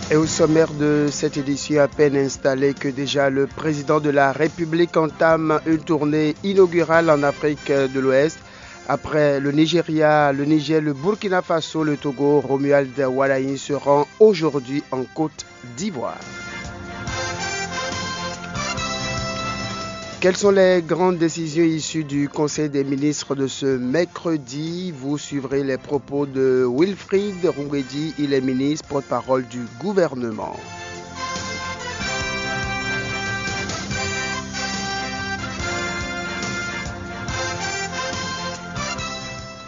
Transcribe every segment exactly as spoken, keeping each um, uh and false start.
Et au sommaire de cette édition, à peine installé que déjà le président de la République entame une tournée inaugurale en Afrique de l'Ouest. Après le Nigeria, le Niger, le Burkina Faso, le Togo, Romuald Wadagni se rend aujourd'hui en Côte d'Ivoire. Quelles sont les grandes décisions issues du Conseil des ministres de ce mercredi ? Vous suivrez les propos de Wilfried Roumedi, il est ministre porte-parole du gouvernement.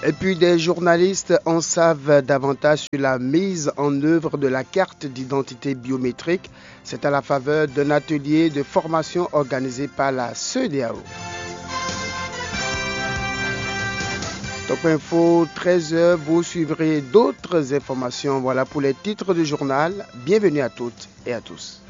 Et puis des journalistes en savent davantage sur la mise en œuvre de la carte d'identité biométrique. C'est à la faveur d'un atelier de formation organisé par la CEDEAO. Top Info, treize heures, vous suivrez d'autres informations. Voilà pour les titres du journal. Bienvenue à toutes et à tous.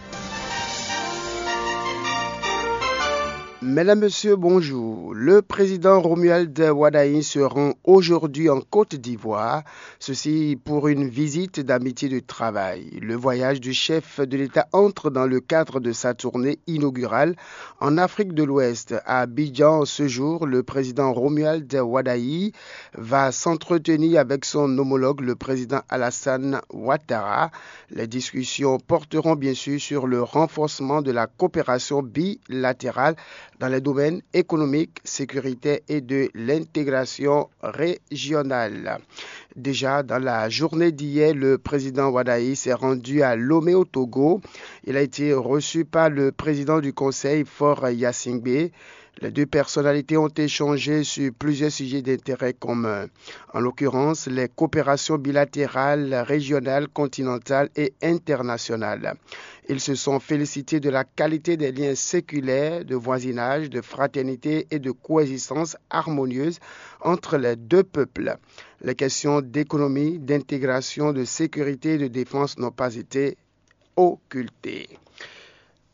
Mesdames, Messieurs, bonjour. Le président Romuald Wadagni se rend aujourd'hui en Côte d'Ivoire, ceci pour une visite d'amitié de travail. Le voyage du chef de l'État entre dans le cadre de sa tournée inaugurale en Afrique de l'Ouest. À Abidjan, ce jour, le président Romuald Wadagni va s'entretenir avec son homologue, le président Alassane Ouattara. Les discussions porteront bien sûr sur le renforcement de la coopération bilatérale dans les domaines économiques, sécuritaires et de l'intégration régionale. Déjà dans la journée d'hier, le président Wadagni s'est rendu à Lomé au Togo. Il a été reçu par le président du conseil, Faure Gnassingbé. Les deux personnalités ont échangé sur plusieurs sujets d'intérêt commun, en l'occurrence les coopérations bilatérales, régionales, continentales et internationales. Ils se sont félicités de la qualité des liens séculaires, de voisinage, de fraternité et de coexistence harmonieuse entre les deux peuples. Les questions d'économie, d'intégration, de sécurité et de défense n'ont pas été occultées.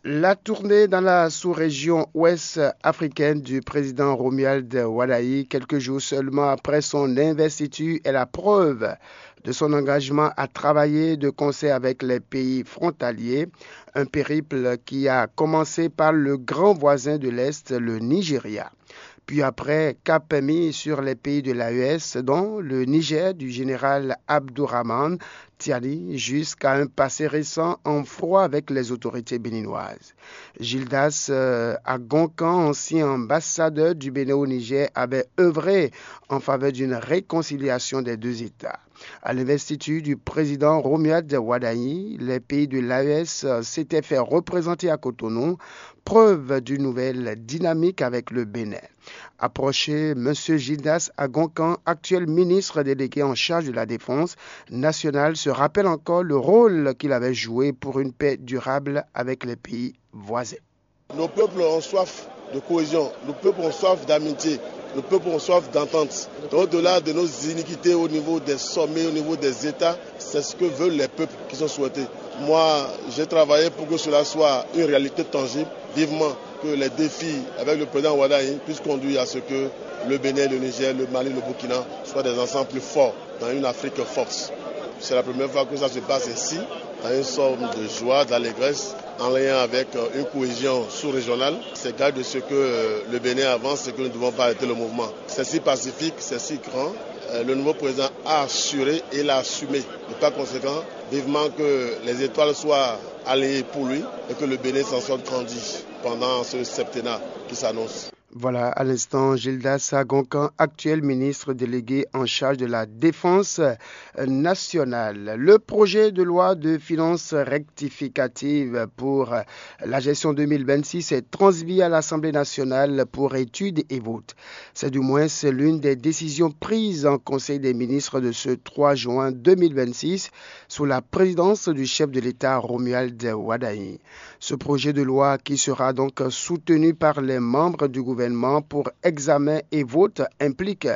La tournée dans la sous-région ouest africaine du président Romuald Wadagni, quelques jours seulement après son investiture, est la preuve de son engagement à travailler de concert avec les pays frontaliers, un périple qui a commencé par le grand voisin de l'Est, le Nigeria. Puis après, cap mis sur les pays de l'A E S, dont le Niger du général Abdourahmane Tiani, jusqu'à un passé récent en froid avec les autorités béninoises. Gildas euh, Agonkan, ancien ambassadeur du Bénin au Niger, avait œuvré en faveur d'une réconciliation des deux États. À l'investiture du président Romuald Wadagni, les pays de l'A E S s'étaient fait représenter à Cotonou, preuve d'une nouvelle dynamique avec le Bénin. Approché, M. Gildas Agonkan, actuel ministre délégué en charge de la défense nationale, se rappelle encore le rôle qu'il avait joué pour une paix durable avec les pays voisins. Nos peuples ont soif de cohésion, nos peuples ont soif d'amitié, nos peuples ont soif d'entente. Donc, au-delà de nos iniquités au niveau des sommets, au niveau des États, c'est ce que veulent les peuples qui sont souhaités. Moi, j'ai travaillé pour que cela soit une réalité tangible. Vivement que les défis avec le président Wadagni puissent conduire à ce que le Bénin, le Niger, le Mali, le Burkina soient des ensembles plus forts dans une Afrique forte. C'est la première fois que ça se passe ainsi, dans une forme de joie, d'allégresse, en lien avec euh, une cohésion sous-régionale. C'est gage de ce que euh, le Bénin avance et que nous ne devons pas arrêter le mouvement. C'est si pacifique, c'est si grand. Euh, le nouveau président a assuré et l'a assumé. Et par conséquent, vivement que les étoiles soient alignées pour lui et que le Bénin s'en sorte grandi pendant ce septennat qui s'annonce. Voilà, à l'instant, Gildas Agonkan, actuel ministre délégué en charge de la défense nationale. Le projet de loi de finances rectificative pour la gestion deux mille vingt-six est transmis à l'Assemblée nationale pour étude et vote. C'est du moins l'une des décisions prises en Conseil des ministres de ce trois juin deux mille vingt-six sous la présidence du chef de l'État Romuald Wadagni. Ce projet de loi, qui sera donc soutenu par les membres du gouvernement pour examen et vote, implique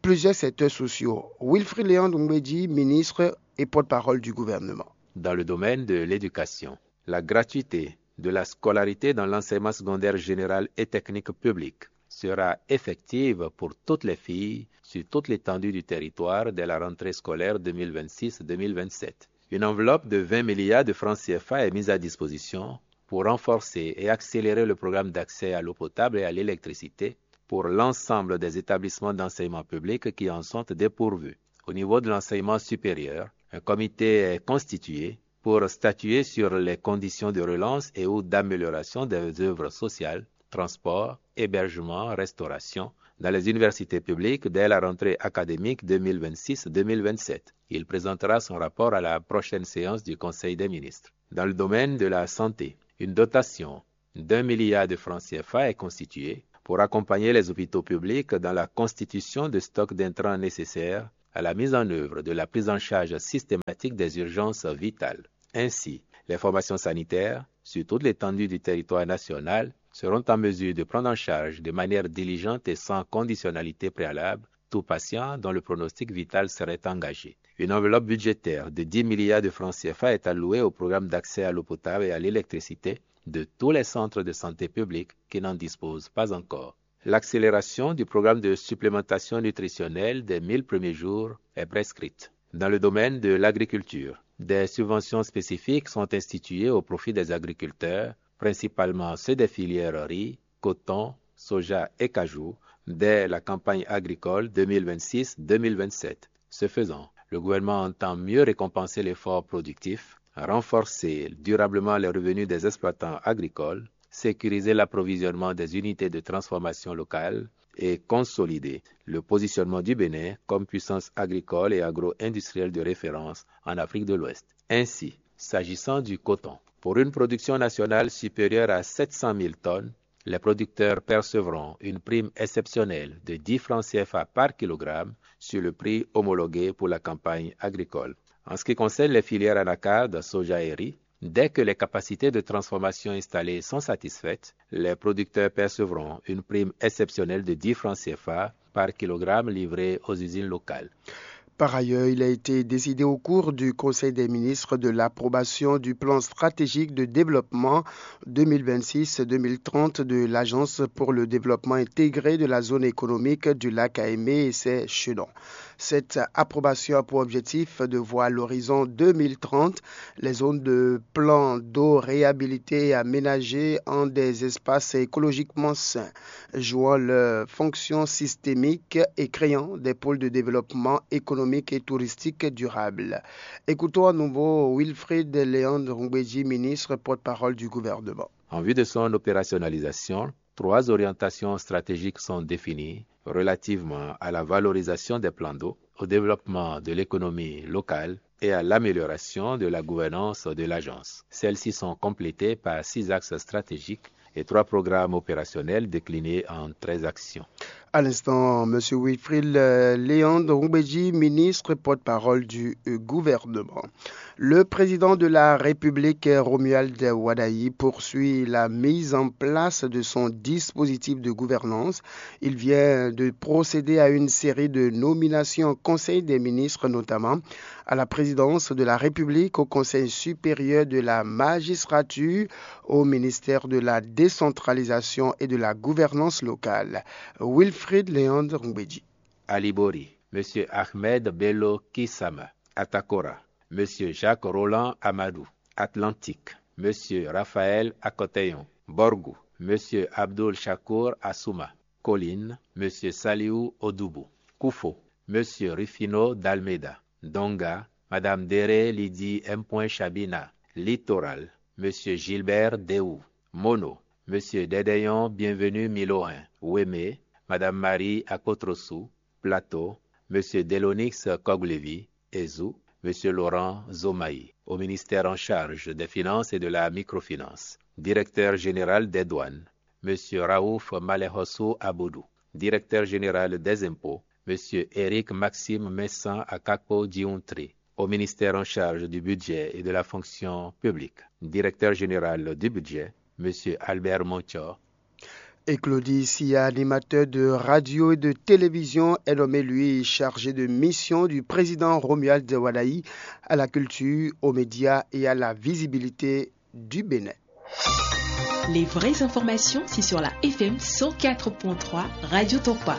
plusieurs secteurs sociaux. Wilfried Léon Doumbédi, ministre et porte-parole du gouvernement. Dans le domaine de l'éducation, la gratuité de la scolarité dans l'enseignement secondaire général et technique public sera effective pour toutes les filles sur toute l'étendue du territoire dès la rentrée scolaire deux mille vingt-six deux mille vingt-sept. Une enveloppe de vingt milliards de francs C F A est mise à disposition pour renforcer et accélérer le programme d'accès à l'eau potable et à l'électricité pour l'ensemble des établissements d'enseignement public qui en sont dépourvus. Au niveau de l'enseignement supérieur, un comité est constitué pour statuer sur les conditions de relance et ou d'amélioration des œuvres sociales, transport, hébergement, restauration, dans les universités publiques dès la rentrée académique deux mille vingt-six deux mille vingt-sept. Il présentera son rapport à la prochaine séance du Conseil des ministres. Dans le domaine de la santé, une dotation d'un milliard de francs C F A est constituée pour accompagner les hôpitaux publics dans la constitution de stocks d'intrants nécessaires à la mise en œuvre de la prise en charge systématique des urgences vitales. Ainsi, les formations sanitaires, sur toute l'étendue du territoire national, seront en mesure de prendre en charge de manière diligente et sans conditionnalité préalable tout patient dont le pronostic vital serait engagé. Une enveloppe budgétaire de dix milliards de francs C F A est allouée au programme d'accès à l'eau potable et à l'électricité de tous les centres de santé publics qui n'en disposent pas encore. L'accélération du programme de supplémentation nutritionnelle des mille premiers jours est prescrite. Dans le domaine de l'agriculture, des subventions spécifiques sont instituées au profit des agriculteurs, principalement ceux des filières riz, coton, soja et cajou, dès la campagne agricole deux mille vingt-six deux mille vingt-sept. Ce faisant, le gouvernement entend mieux récompenser l'effort productif, renforcer durablement les revenus des exploitants agricoles, sécuriser l'approvisionnement des unités de transformation locales et consolider le positionnement du Bénin comme puissance agricole et agro-industrielle de référence en Afrique de l'Ouest. Ainsi, s'agissant du coton, pour une production nationale supérieure à sept cent mille tonnes, les producteurs percevront une prime exceptionnelle de dix francs C F A par kilogramme sur le prix homologué pour la campagne agricole. En ce qui concerne les filières anacarde, soja et riz, dès que les capacités de transformation installées sont satisfaites, les producteurs percevront une prime exceptionnelle de dix francs C F A par kilogramme livré aux usines locales. Par ailleurs, il a été décidé au cours du Conseil des ministres de l'approbation du plan stratégique de développement deux mille vingt-six deux mille trente de l'Agence pour le développement intégré de la zone économique du lac Aimé et ses chaînons. Cette approbation a pour objectif de voir à l'horizon deux mille trente les zones de plan d'eau réhabilitées et aménagées en des espaces écologiquement sains, jouant leur fonction systémique et créant des pôles de développement économique et touristique durable. Écoutons à nouveau Wilfried Léandre Ngbeji, ministre porte-parole du gouvernement. En vue de son opérationnalisation, trois orientations stratégiques sont définies relativement à la valorisation des plans d'eau, au développement de l'économie locale et à l'amélioration de la gouvernance de l'agence. Celles-ci sont complétées par six axes stratégiques et trois programmes opérationnels déclinés en treize actions. À l'instant, M. Wilfried euh, Léandre Ngbeji, ministre porte-parole du euh, gouvernement. Le président de la République, Romuald Wadagni, poursuit la mise en place de son dispositif de gouvernance. Il vient de procéder à une série de nominations au Conseil des ministres, notamment à la présidence de la République, au Conseil supérieur de la magistrature, au ministère de la décentralisation et de la gouvernance locale. Wilfried Léandre Ngbeji. Alibori, M. Ahmed Bello Kisama. Atakora, M. Jacques Roland Amadou. Atlantique, M. Raphaël Akoteyon. Borgou, M. Abdul Shakur Assouma. Colline, M. Saliou Odoubou. Koufo, M. Rufino Dalmeida. Donga, Madame Dere Lydie M. Chabina. Littoral, M. Gilbert Deou. Mono, M. Dedeyon Bienvenu Milorin. Wémé, Madame Marie Akotrosou. Plateau, M. Delonix Koglevi. Ezou, M. Laurent Zomaï. Au ministère en charge des Finances et de la Microfinance, directeur général des douanes, M. Raouf Malehossou Aboudou. Directeur général des impôts, M. Éric Maxime Messan Akakpo Diountri. Au ministère en charge du budget et de la fonction publique, directeur général du budget, M. Albert Monchor. Et Claudie Sia, animateur de radio et de télévision, est nommé, lui, chargé de mission du président Romuald Wadagni à la culture, aux médias et à la visibilité du Bénin. Les vraies informations, c'est sur la F M cent quatre point trois Radio Topa.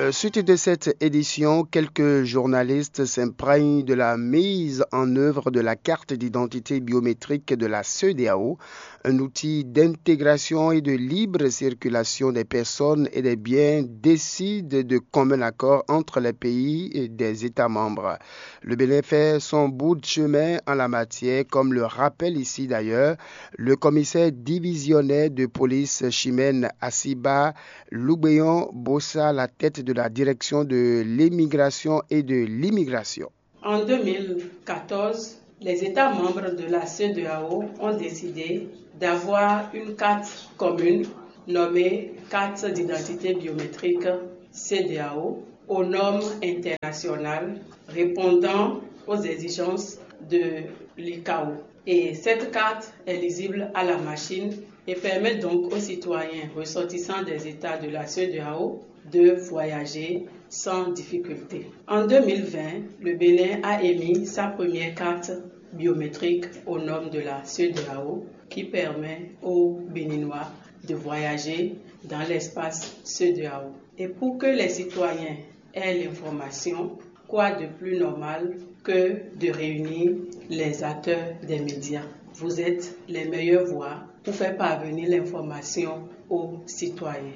Euh, suite de cette édition, quelques journalistes s'imprègnent de la mise en œuvre de la carte d'identité biométrique de la CEDEAO, un outil d'intégration et de libre circulation des personnes et des biens décidé de commun accord entre les pays et des États membres. Le Bénin fait son bout de chemin en la matière, comme le rappelle ici d'ailleurs le commissaire divisionnaire de police Chimène Assiba Lougbeyon Bossa, la tête de la direction de l'immigration et de l'immigration. En deux mille quatorze, les États membres de la CEDEAO ont décidé d'avoir une carte commune nommée carte d'identité biométrique CEDEAO aux normes internationales répondant aux exigences de l'ICAO. Et cette carte est lisible à la machine et permet donc aux citoyens ressortissants des États de la CEDEAO de voyager sans difficulté. En deux mille vingt, le Bénin a émis sa première carte biométrique au nom de la CEDEAO qui permet aux Béninois de voyager dans l'espace CEDEAO. Et pour que les citoyens aient l'information, quoi de plus normal que de réunir les acteurs des médias? Vous êtes les meilleures voix pour faire parvenir l'information aux citoyens.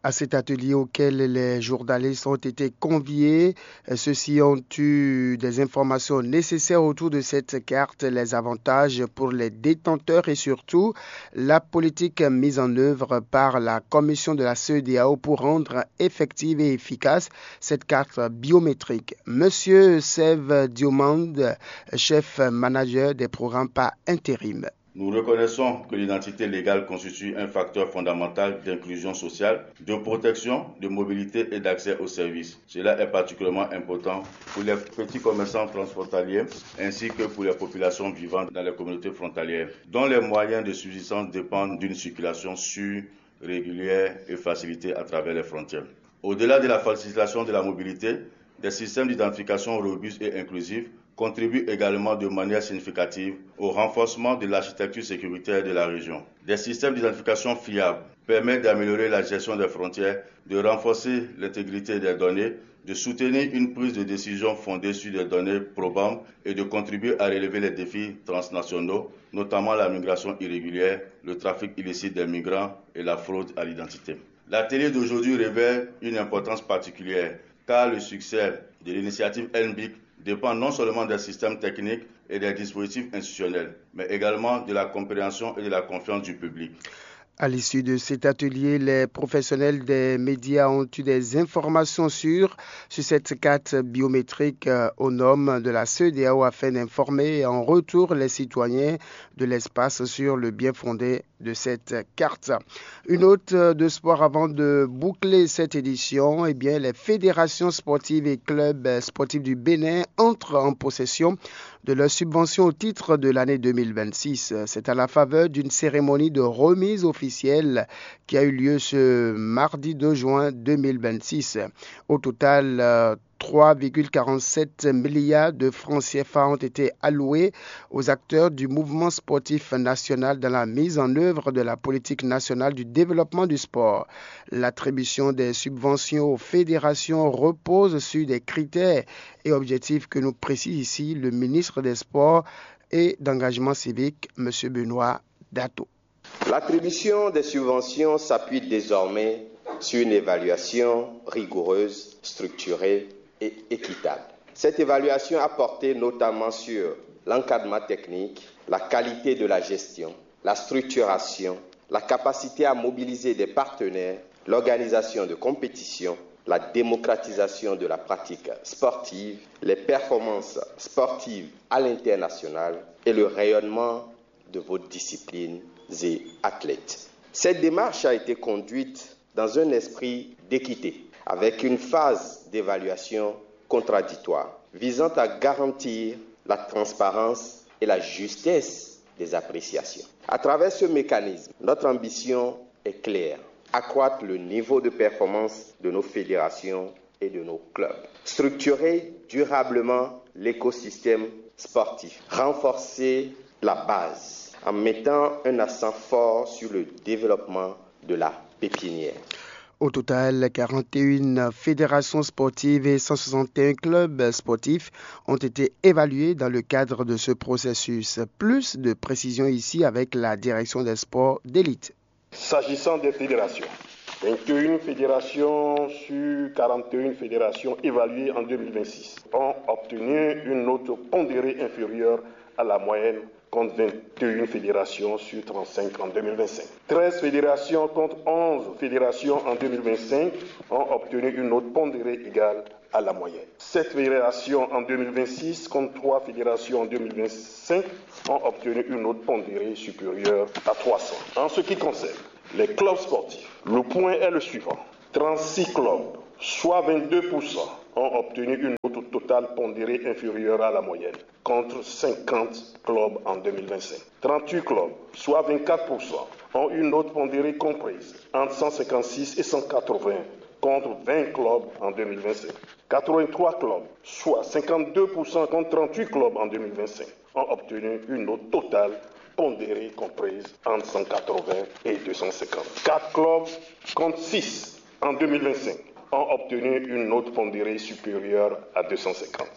À cet atelier auquel les journalistes ont été conviés, euh, ceux-ci ont eu des informations nécessaires autour de cette carte, les avantages pour les détenteurs et surtout la politique mise en œuvre par la commission de la CEDEAO pour rendre effective et efficace cette carte biométrique. Monsieur Sève Diomande, chef manager des programmes par intérim. Nous reconnaissons que l'identité légale constitue un facteur fondamental d'inclusion sociale, de protection, de mobilité et d'accès aux services. Cela est particulièrement important pour les petits commerçants transfrontaliers ainsi que pour les populations vivant dans les communautés frontalières, dont les moyens de subsistance dépendent d'une circulation sûre, régulière et facilitée à travers les frontières. Au-delà de la facilitation de la mobilité, des systèmes d'identification robustes et inclusifs contribuent également de manière significative au renforcement de l'architecture sécuritaire de la région. Des systèmes d'identification fiables permettent d'améliorer la gestion des frontières, de renforcer l'intégrité des données, de soutenir une prise de décision fondée sur des données probantes et de contribuer à relever les défis transnationaux, notamment la migration irrégulière, le trafic illicite des migrants et la fraude à l'identité. L'atelier d'aujourd'hui révèle une importance particulière car le succès de l'initiative N B I C dépend non seulement des systèmes techniques et des dispositifs institutionnels, mais également de la compréhension et de la confiance du public. À l'issue de cet atelier, les professionnels des médias ont eu des informations sûres sur cette carte biométrique, euh, au nom de la CEDEAO afin d'informer en retour les citoyens de l'espace sur le bien fondé de cette carte. Une note de sport avant de boucler cette édition. Eh bien, les fédérations sportives et clubs sportifs du Bénin entrent en possession de leurs subventions au titre de l'année deux mille vingt-six. C'est à la faveur d'une cérémonie de remise officielle qui a eu lieu ce mardi deux juin deux mille vingt-six. Au total, euh, trois virgule quarante-sept milliards de francs C F A ont été alloués aux acteurs du mouvement sportif national dans la mise en œuvre de la politique nationale du développement du sport. L'attribution des subventions aux fédérations repose sur des critères et objectifs que nous précise ici le ministre des Sports et d'Engagement civique, monsieur Benoît Dato. L'attribution des subventions s'appuie désormais sur une évaluation rigoureuse, structurée et équitable. Cette évaluation a porté notamment sur l'encadrement technique, la qualité de la gestion, la structuration, la capacité à mobiliser des partenaires, l'organisation de compétitions, la démocratisation de la pratique sportive, les performances sportives à l'international et le rayonnement de vos disciplines et athlètes. Cette démarche a été conduite dans un esprit d'équité, avec une phase d'évaluation contradictoire visant à garantir la transparence et la justesse des appréciations. À travers ce mécanisme, notre ambition est claire : accroître le niveau de performance de nos fédérations et de nos clubs, structurer durablement l'écosystème sportif, renforcer la base en mettant un accent fort sur le développement de la pépinière. Au total, quarante et une fédérations sportives et cent soixante et un clubs sportifs ont été évalués dans le cadre de ce processus. Plus de précision ici avec la direction des sports d'élite. S'agissant des fédérations, vingt et une fédérations sur quarante et une fédérations évaluées en deux mille vingt-six ont obtenu une note pondérée inférieure à la moyenne, contre vingt et une fédérations sur trente-cinq en deux mille vingt-cinq. Treize fédérations contre onze fédérations en deux mille vingt-cinq ont obtenu une note pondérée égale à la moyenne. Sept fédérations en deux mille vingt-six contre trois fédérations en deux mille vingt-cinq ont obtenu une note pondérée supérieure à trois cents. En ce qui concerne les clubs sportifs, le point est le suivant. Trente-six clubs, soit vingt-deux pour cent, ont obtenu une note totale pondérée inférieure à la moyenne, contre cinquante clubs en deux mille vingt-cinq. Trente-huit clubs, soit vingt-quatre pour cent, ont une note pondérée comprise entre cent cinquante-six et cent quatre-vingts, contre vingt clubs en deux mille vingt-cinq. Quatre-vingt-trois clubs, soit cinquante-deux pour cent contre trente-huit clubs en deux mille vingt-cinq, ont obtenu une note totale pondérée comprise entre cent quatre-vingts et deux cent cinquante. Quatre clubs contre six en deux mille vingt-cinq ont obtenu une note pondérée supérieure à deux cent cinquante.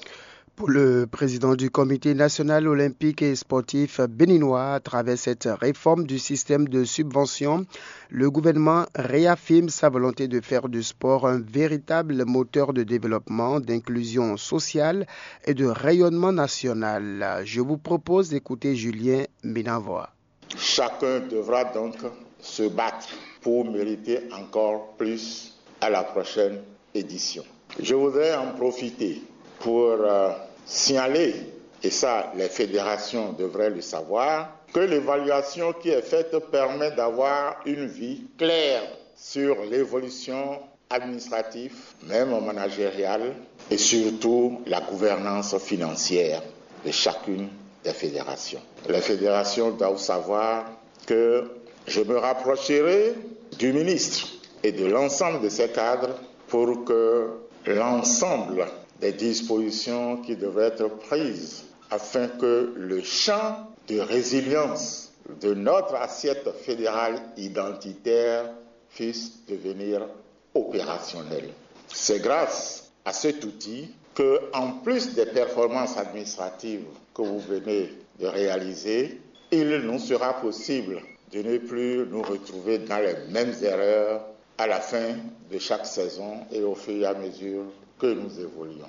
Pour le président du Comité national olympique et sportif béninois, à travers cette réforme du système de subvention, le gouvernement réaffirme sa volonté de faire du sport un véritable moteur de développement, d'inclusion sociale et de rayonnement national. Je vous propose d'écouter Julien Minavoa. Chacun devra donc se battre pour mériter encore plus à la prochaine édition. Je voudrais en profiter pour euh, signaler, et ça les fédérations devraient le savoir, que l'évaluation qui est faite permet d'avoir une vue claire sur l'évolution administrative, même managériale, et surtout la gouvernance financière de chacune des fédérations. Les fédérations doivent savoir que je me rapprocherai du ministre et de l'ensemble de ses cadres pour que l'ensemble des dispositions qui devraient être prises afin que le champ de résilience de notre assiette fédérale identitaire puisse devenir opérationnel. C'est grâce à cet outil que, en plus des performances administratives que vous venez de réaliser, il nous sera possible de ne plus nous retrouver dans les mêmes erreurs à la fin de chaque saison et au fur et à mesure que nous évoluons.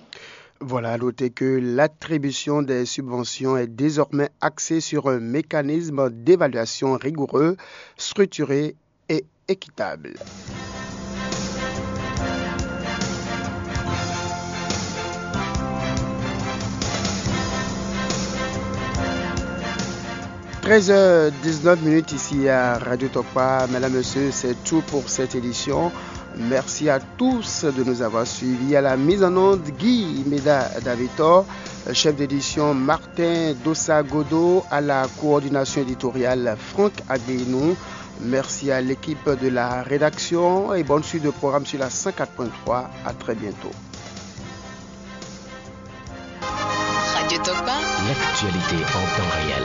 Voilà, à noter que l'attribution des subventions est désormais axée sur un mécanisme d'évaluation rigoureux, structuré et équitable. Treize heures dix-neuf minutes ici à Radio Tokpa. Mesdames, Messieurs, c'est tout pour cette édition. Merci à tous de nous avoir suivis. À la mise en onde, Guy Meda Davitor, chef d'édition, Martin Dossa Godot, à la coordination éditoriale, Franck Agbénou. Merci à l'équipe de la rédaction et bonne suite de programme sur la cent quatre point trois. À très bientôt. Radio Tokpa, l'actualité en temps réel.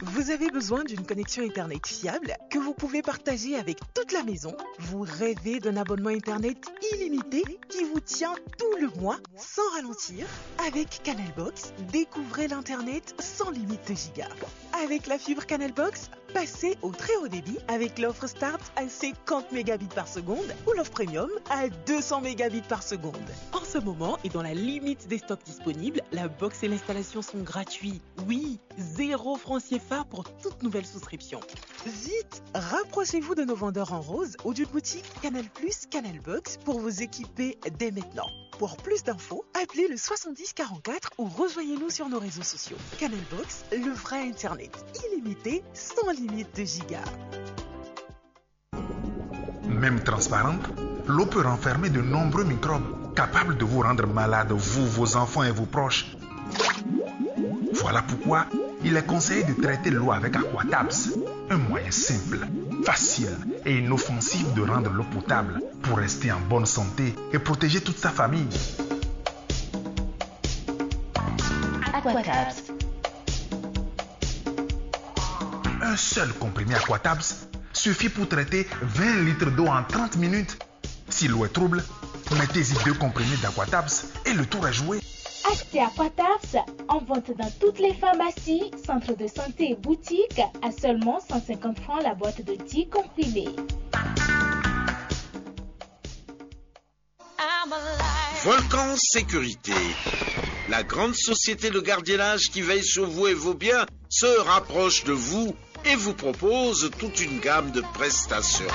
Vous avez besoin d'une connexion Internet fiable que vous pouvez partager avec toute la maison ? Vous rêvez d'un abonnement Internet illimité qui vous tient tout le mois sans ralentir ? Avec Canalbox, découvrez l'Internet sans limite de giga. Avec la fibre Canalbox, passez au très haut débit avec l'offre Start à cinquante mégabits par seconde ou l'offre Premium à deux cents mégabits par seconde. En ce moment et dans la limite des stocks disponibles, la box et l'installation sont gratuits. Oui, zéro franc C F A pour toute nouvelle souscription. Vite, rapprochez-vous de nos vendeurs en rose ou d'une boutique Canal Plus, Canal Box pour vous équiper dès maintenant. Pour plus d'infos, appelez le soixante-dix quarante-quatre ou rejoignez-nous sur nos réseaux sociaux. Canal Box, le vrai Internet, illimité, sans limite de giga. Même transparente, l'eau peut renfermer de nombreux microbes capables de vous rendre malade, vous, vos enfants et vos proches. Voilà pourquoi il est conseillé de traiter l'eau avec Aquatabs, un moyen simple, facile et inoffensif de rendre l'eau potable pour rester en bonne santé et protéger toute sa famille. Aquatabs. Un seul comprimé Aquatabs Suffit pour traiter vingt litres d'eau en trente minutes. Si l'eau est trouble, mettez-y deux comprimés d'Aquatabs et le tour est joué. Achetez Aquatabs, en vente dans toutes les pharmacies, centres de santé et boutiques, à seulement cent cinquante francs la boîte de dix comprimés. Volcan Sécurité, la grande société de gardiennage qui veille sur vous et vos biens, se rapproche de vous et vous propose toute une gamme de prestations.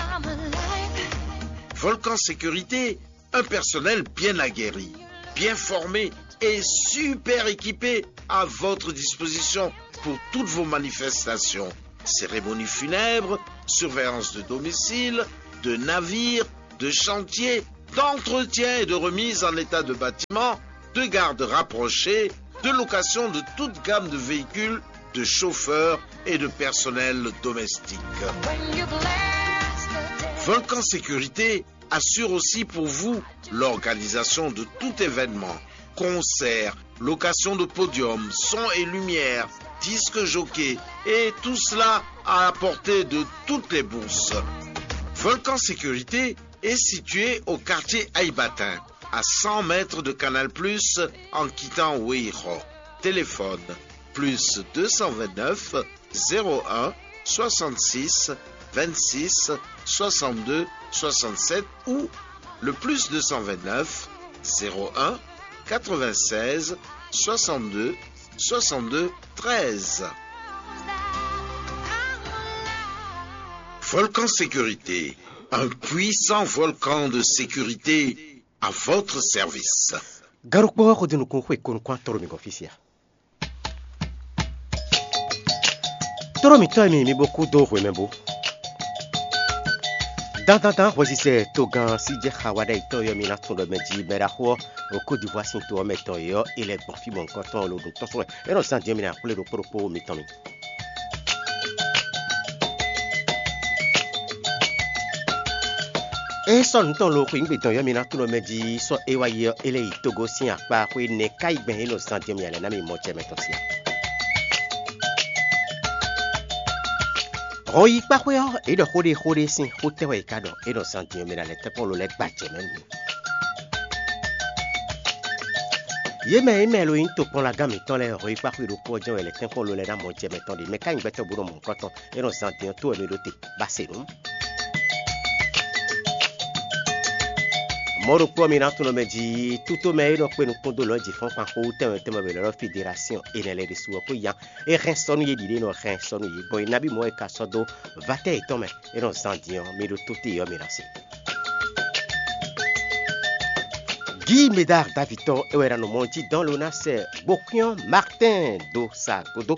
Volcan Sécurité, un personnel bien aguerri, bien formé et super équipé à votre disposition pour toutes vos manifestations. Cérémonie funèbre, surveillance de domicile, de navire, de chantier, d'entretien et de remise en état de bâtiment, de garde rapprochée, de location de toute gamme de véhicules, de chauffeurs et de personnel domestique. Volcan Sécurité assure aussi pour vous l'organisation de tout événement, concert, location de podium, son et lumière, disque jockey, et tout cela à la portée de toutes les bourses. Volcan Sécurité est situé au quartier Aïbatin, à cent mètres de Canal Plus, en quittant Weiro. Téléphone plus deux cent vingt-neuf zéro un soixante-six vingt-six soixante-deux soixante-sept ou le plus deux cent vingt-neuf quatre-vingt-seize soixante-deux treize. Volcan Sécurité, un puissant volcan de sécurité à votre service. Garukpɔ xodinukun xwe konukun atɔ́ ɖo mi gɔn fí sia. Tlóló mǐtɔn e mi nyí mi bó kú dó hwemɛ bú. Dandandan hwɛsisɛ togán sí jɛ xa wa ɖ'ayǐ tɔn yɔ mi ná tunwun ɖɔ mɛ jí mɛ ɖaxó ɔ́, ɖo Côte d'Ivoire sín to ɔ́ mɛ tɔn e ɔ́, é lɛ́ gbɔn fí mɔ̌hunkɔtɔn ɔ́ lo ɖo tɔ́n sɔ́ wɛ. É nɔ zán din ɔ́ mi ná xwlé ɖokpó ɖokpó mitɔn mi. É sɔ́ nǔ tɔn lo xweyǐgbe tɔn yɔ mi ná tunwun ɖɔ mɛ jí sɔ́ é wá yi ɔ́, é lɛ́ yi Togo sín akpá xwé nɛ̌ ká yi gbɛn é nɔ zán din ɔ́ mi ná lɛ́ ná mi mɔ jɛ mɛ tɔn sín. Hɔn yi kpá xwé ɔ́, é ɖɔ xó ɖé xó ɖé sín xó tɛ́ wɛ è ka ɖɔ é nɔ zán din ɔ́ mi ná lɛ́ tɛ́nkpɔ́n lo lɛ́ gba jɛ mɛ nú. Yě mɛ e mɛ lo nyí tokpɔnlagán mǐtɔn lɛ́ɛ hɔn yi kpá xwé ɖokpó ɔ́ jɛ́n wɛ lɛ́ tɛ́nkpɔ́n lo lɛ́ ná mɔ jɛ mɛ tɔn ɖe mɛ ká nyí gbɛtɔ́ bó nɔ mɔ nukɔn tɔn é nɔ zán din ɔ́ tó wɛ mi ɖó te ba se nǔ. Mɔ̌ ɖokpó ɔ́ mi ná tunwun mɛ jí tútó mɛ e nɔ kpé nukún dó lɔ̌ jǐ fɔ́n kpan xó wú tɛnmɛ tɛnmɛ wě lɛ́ ɖɔ fí Derasíɔn è nɛ lɛ́ ɖésú ɔ́ kó yán. É hɛn sɔ́ nú yě ɖiɖe nɔ hɛn sɔ́ nú yě gbɔn é nabí mɔ̌ è ka sɔ́ dó vatɛ́ yětɔn mɛ é nɔ zán din ɔ́ mi ɖo tó te ɔ́ mi ná se. Guy Médard Davitɔ é wɛ ná nɔ mɔ jí dɔn lo ná sɛ gbokúnyɔ́ Martin dó sa gúdo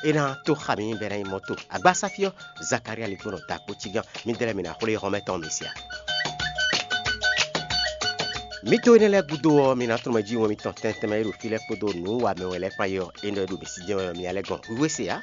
é ná tó xa mi bɛ ná nyí mɔto agbasáfí ɔ́ Zakaria ligbɔnɔ da kpó cígán. Midɛɛ lɛ́ɛ mi ná xwlé xɔmɛ tɔn mi sia. Mǐ to énɛ́ lɛ́ɛ gúdo ɔ́, mi ná tunwun mɛ jí wɛn mitɔn tɛntɛn mɛ e ɖo fí lɛ́ɛ kpódó nǔwanmɛ wɛ lɛ́ɛ kpán é ɔ́, énɛ́ ɖo mi sí jɛ́n wɛ mi ná lɛ́ gɔn hwíhwɛ́ se ǎ.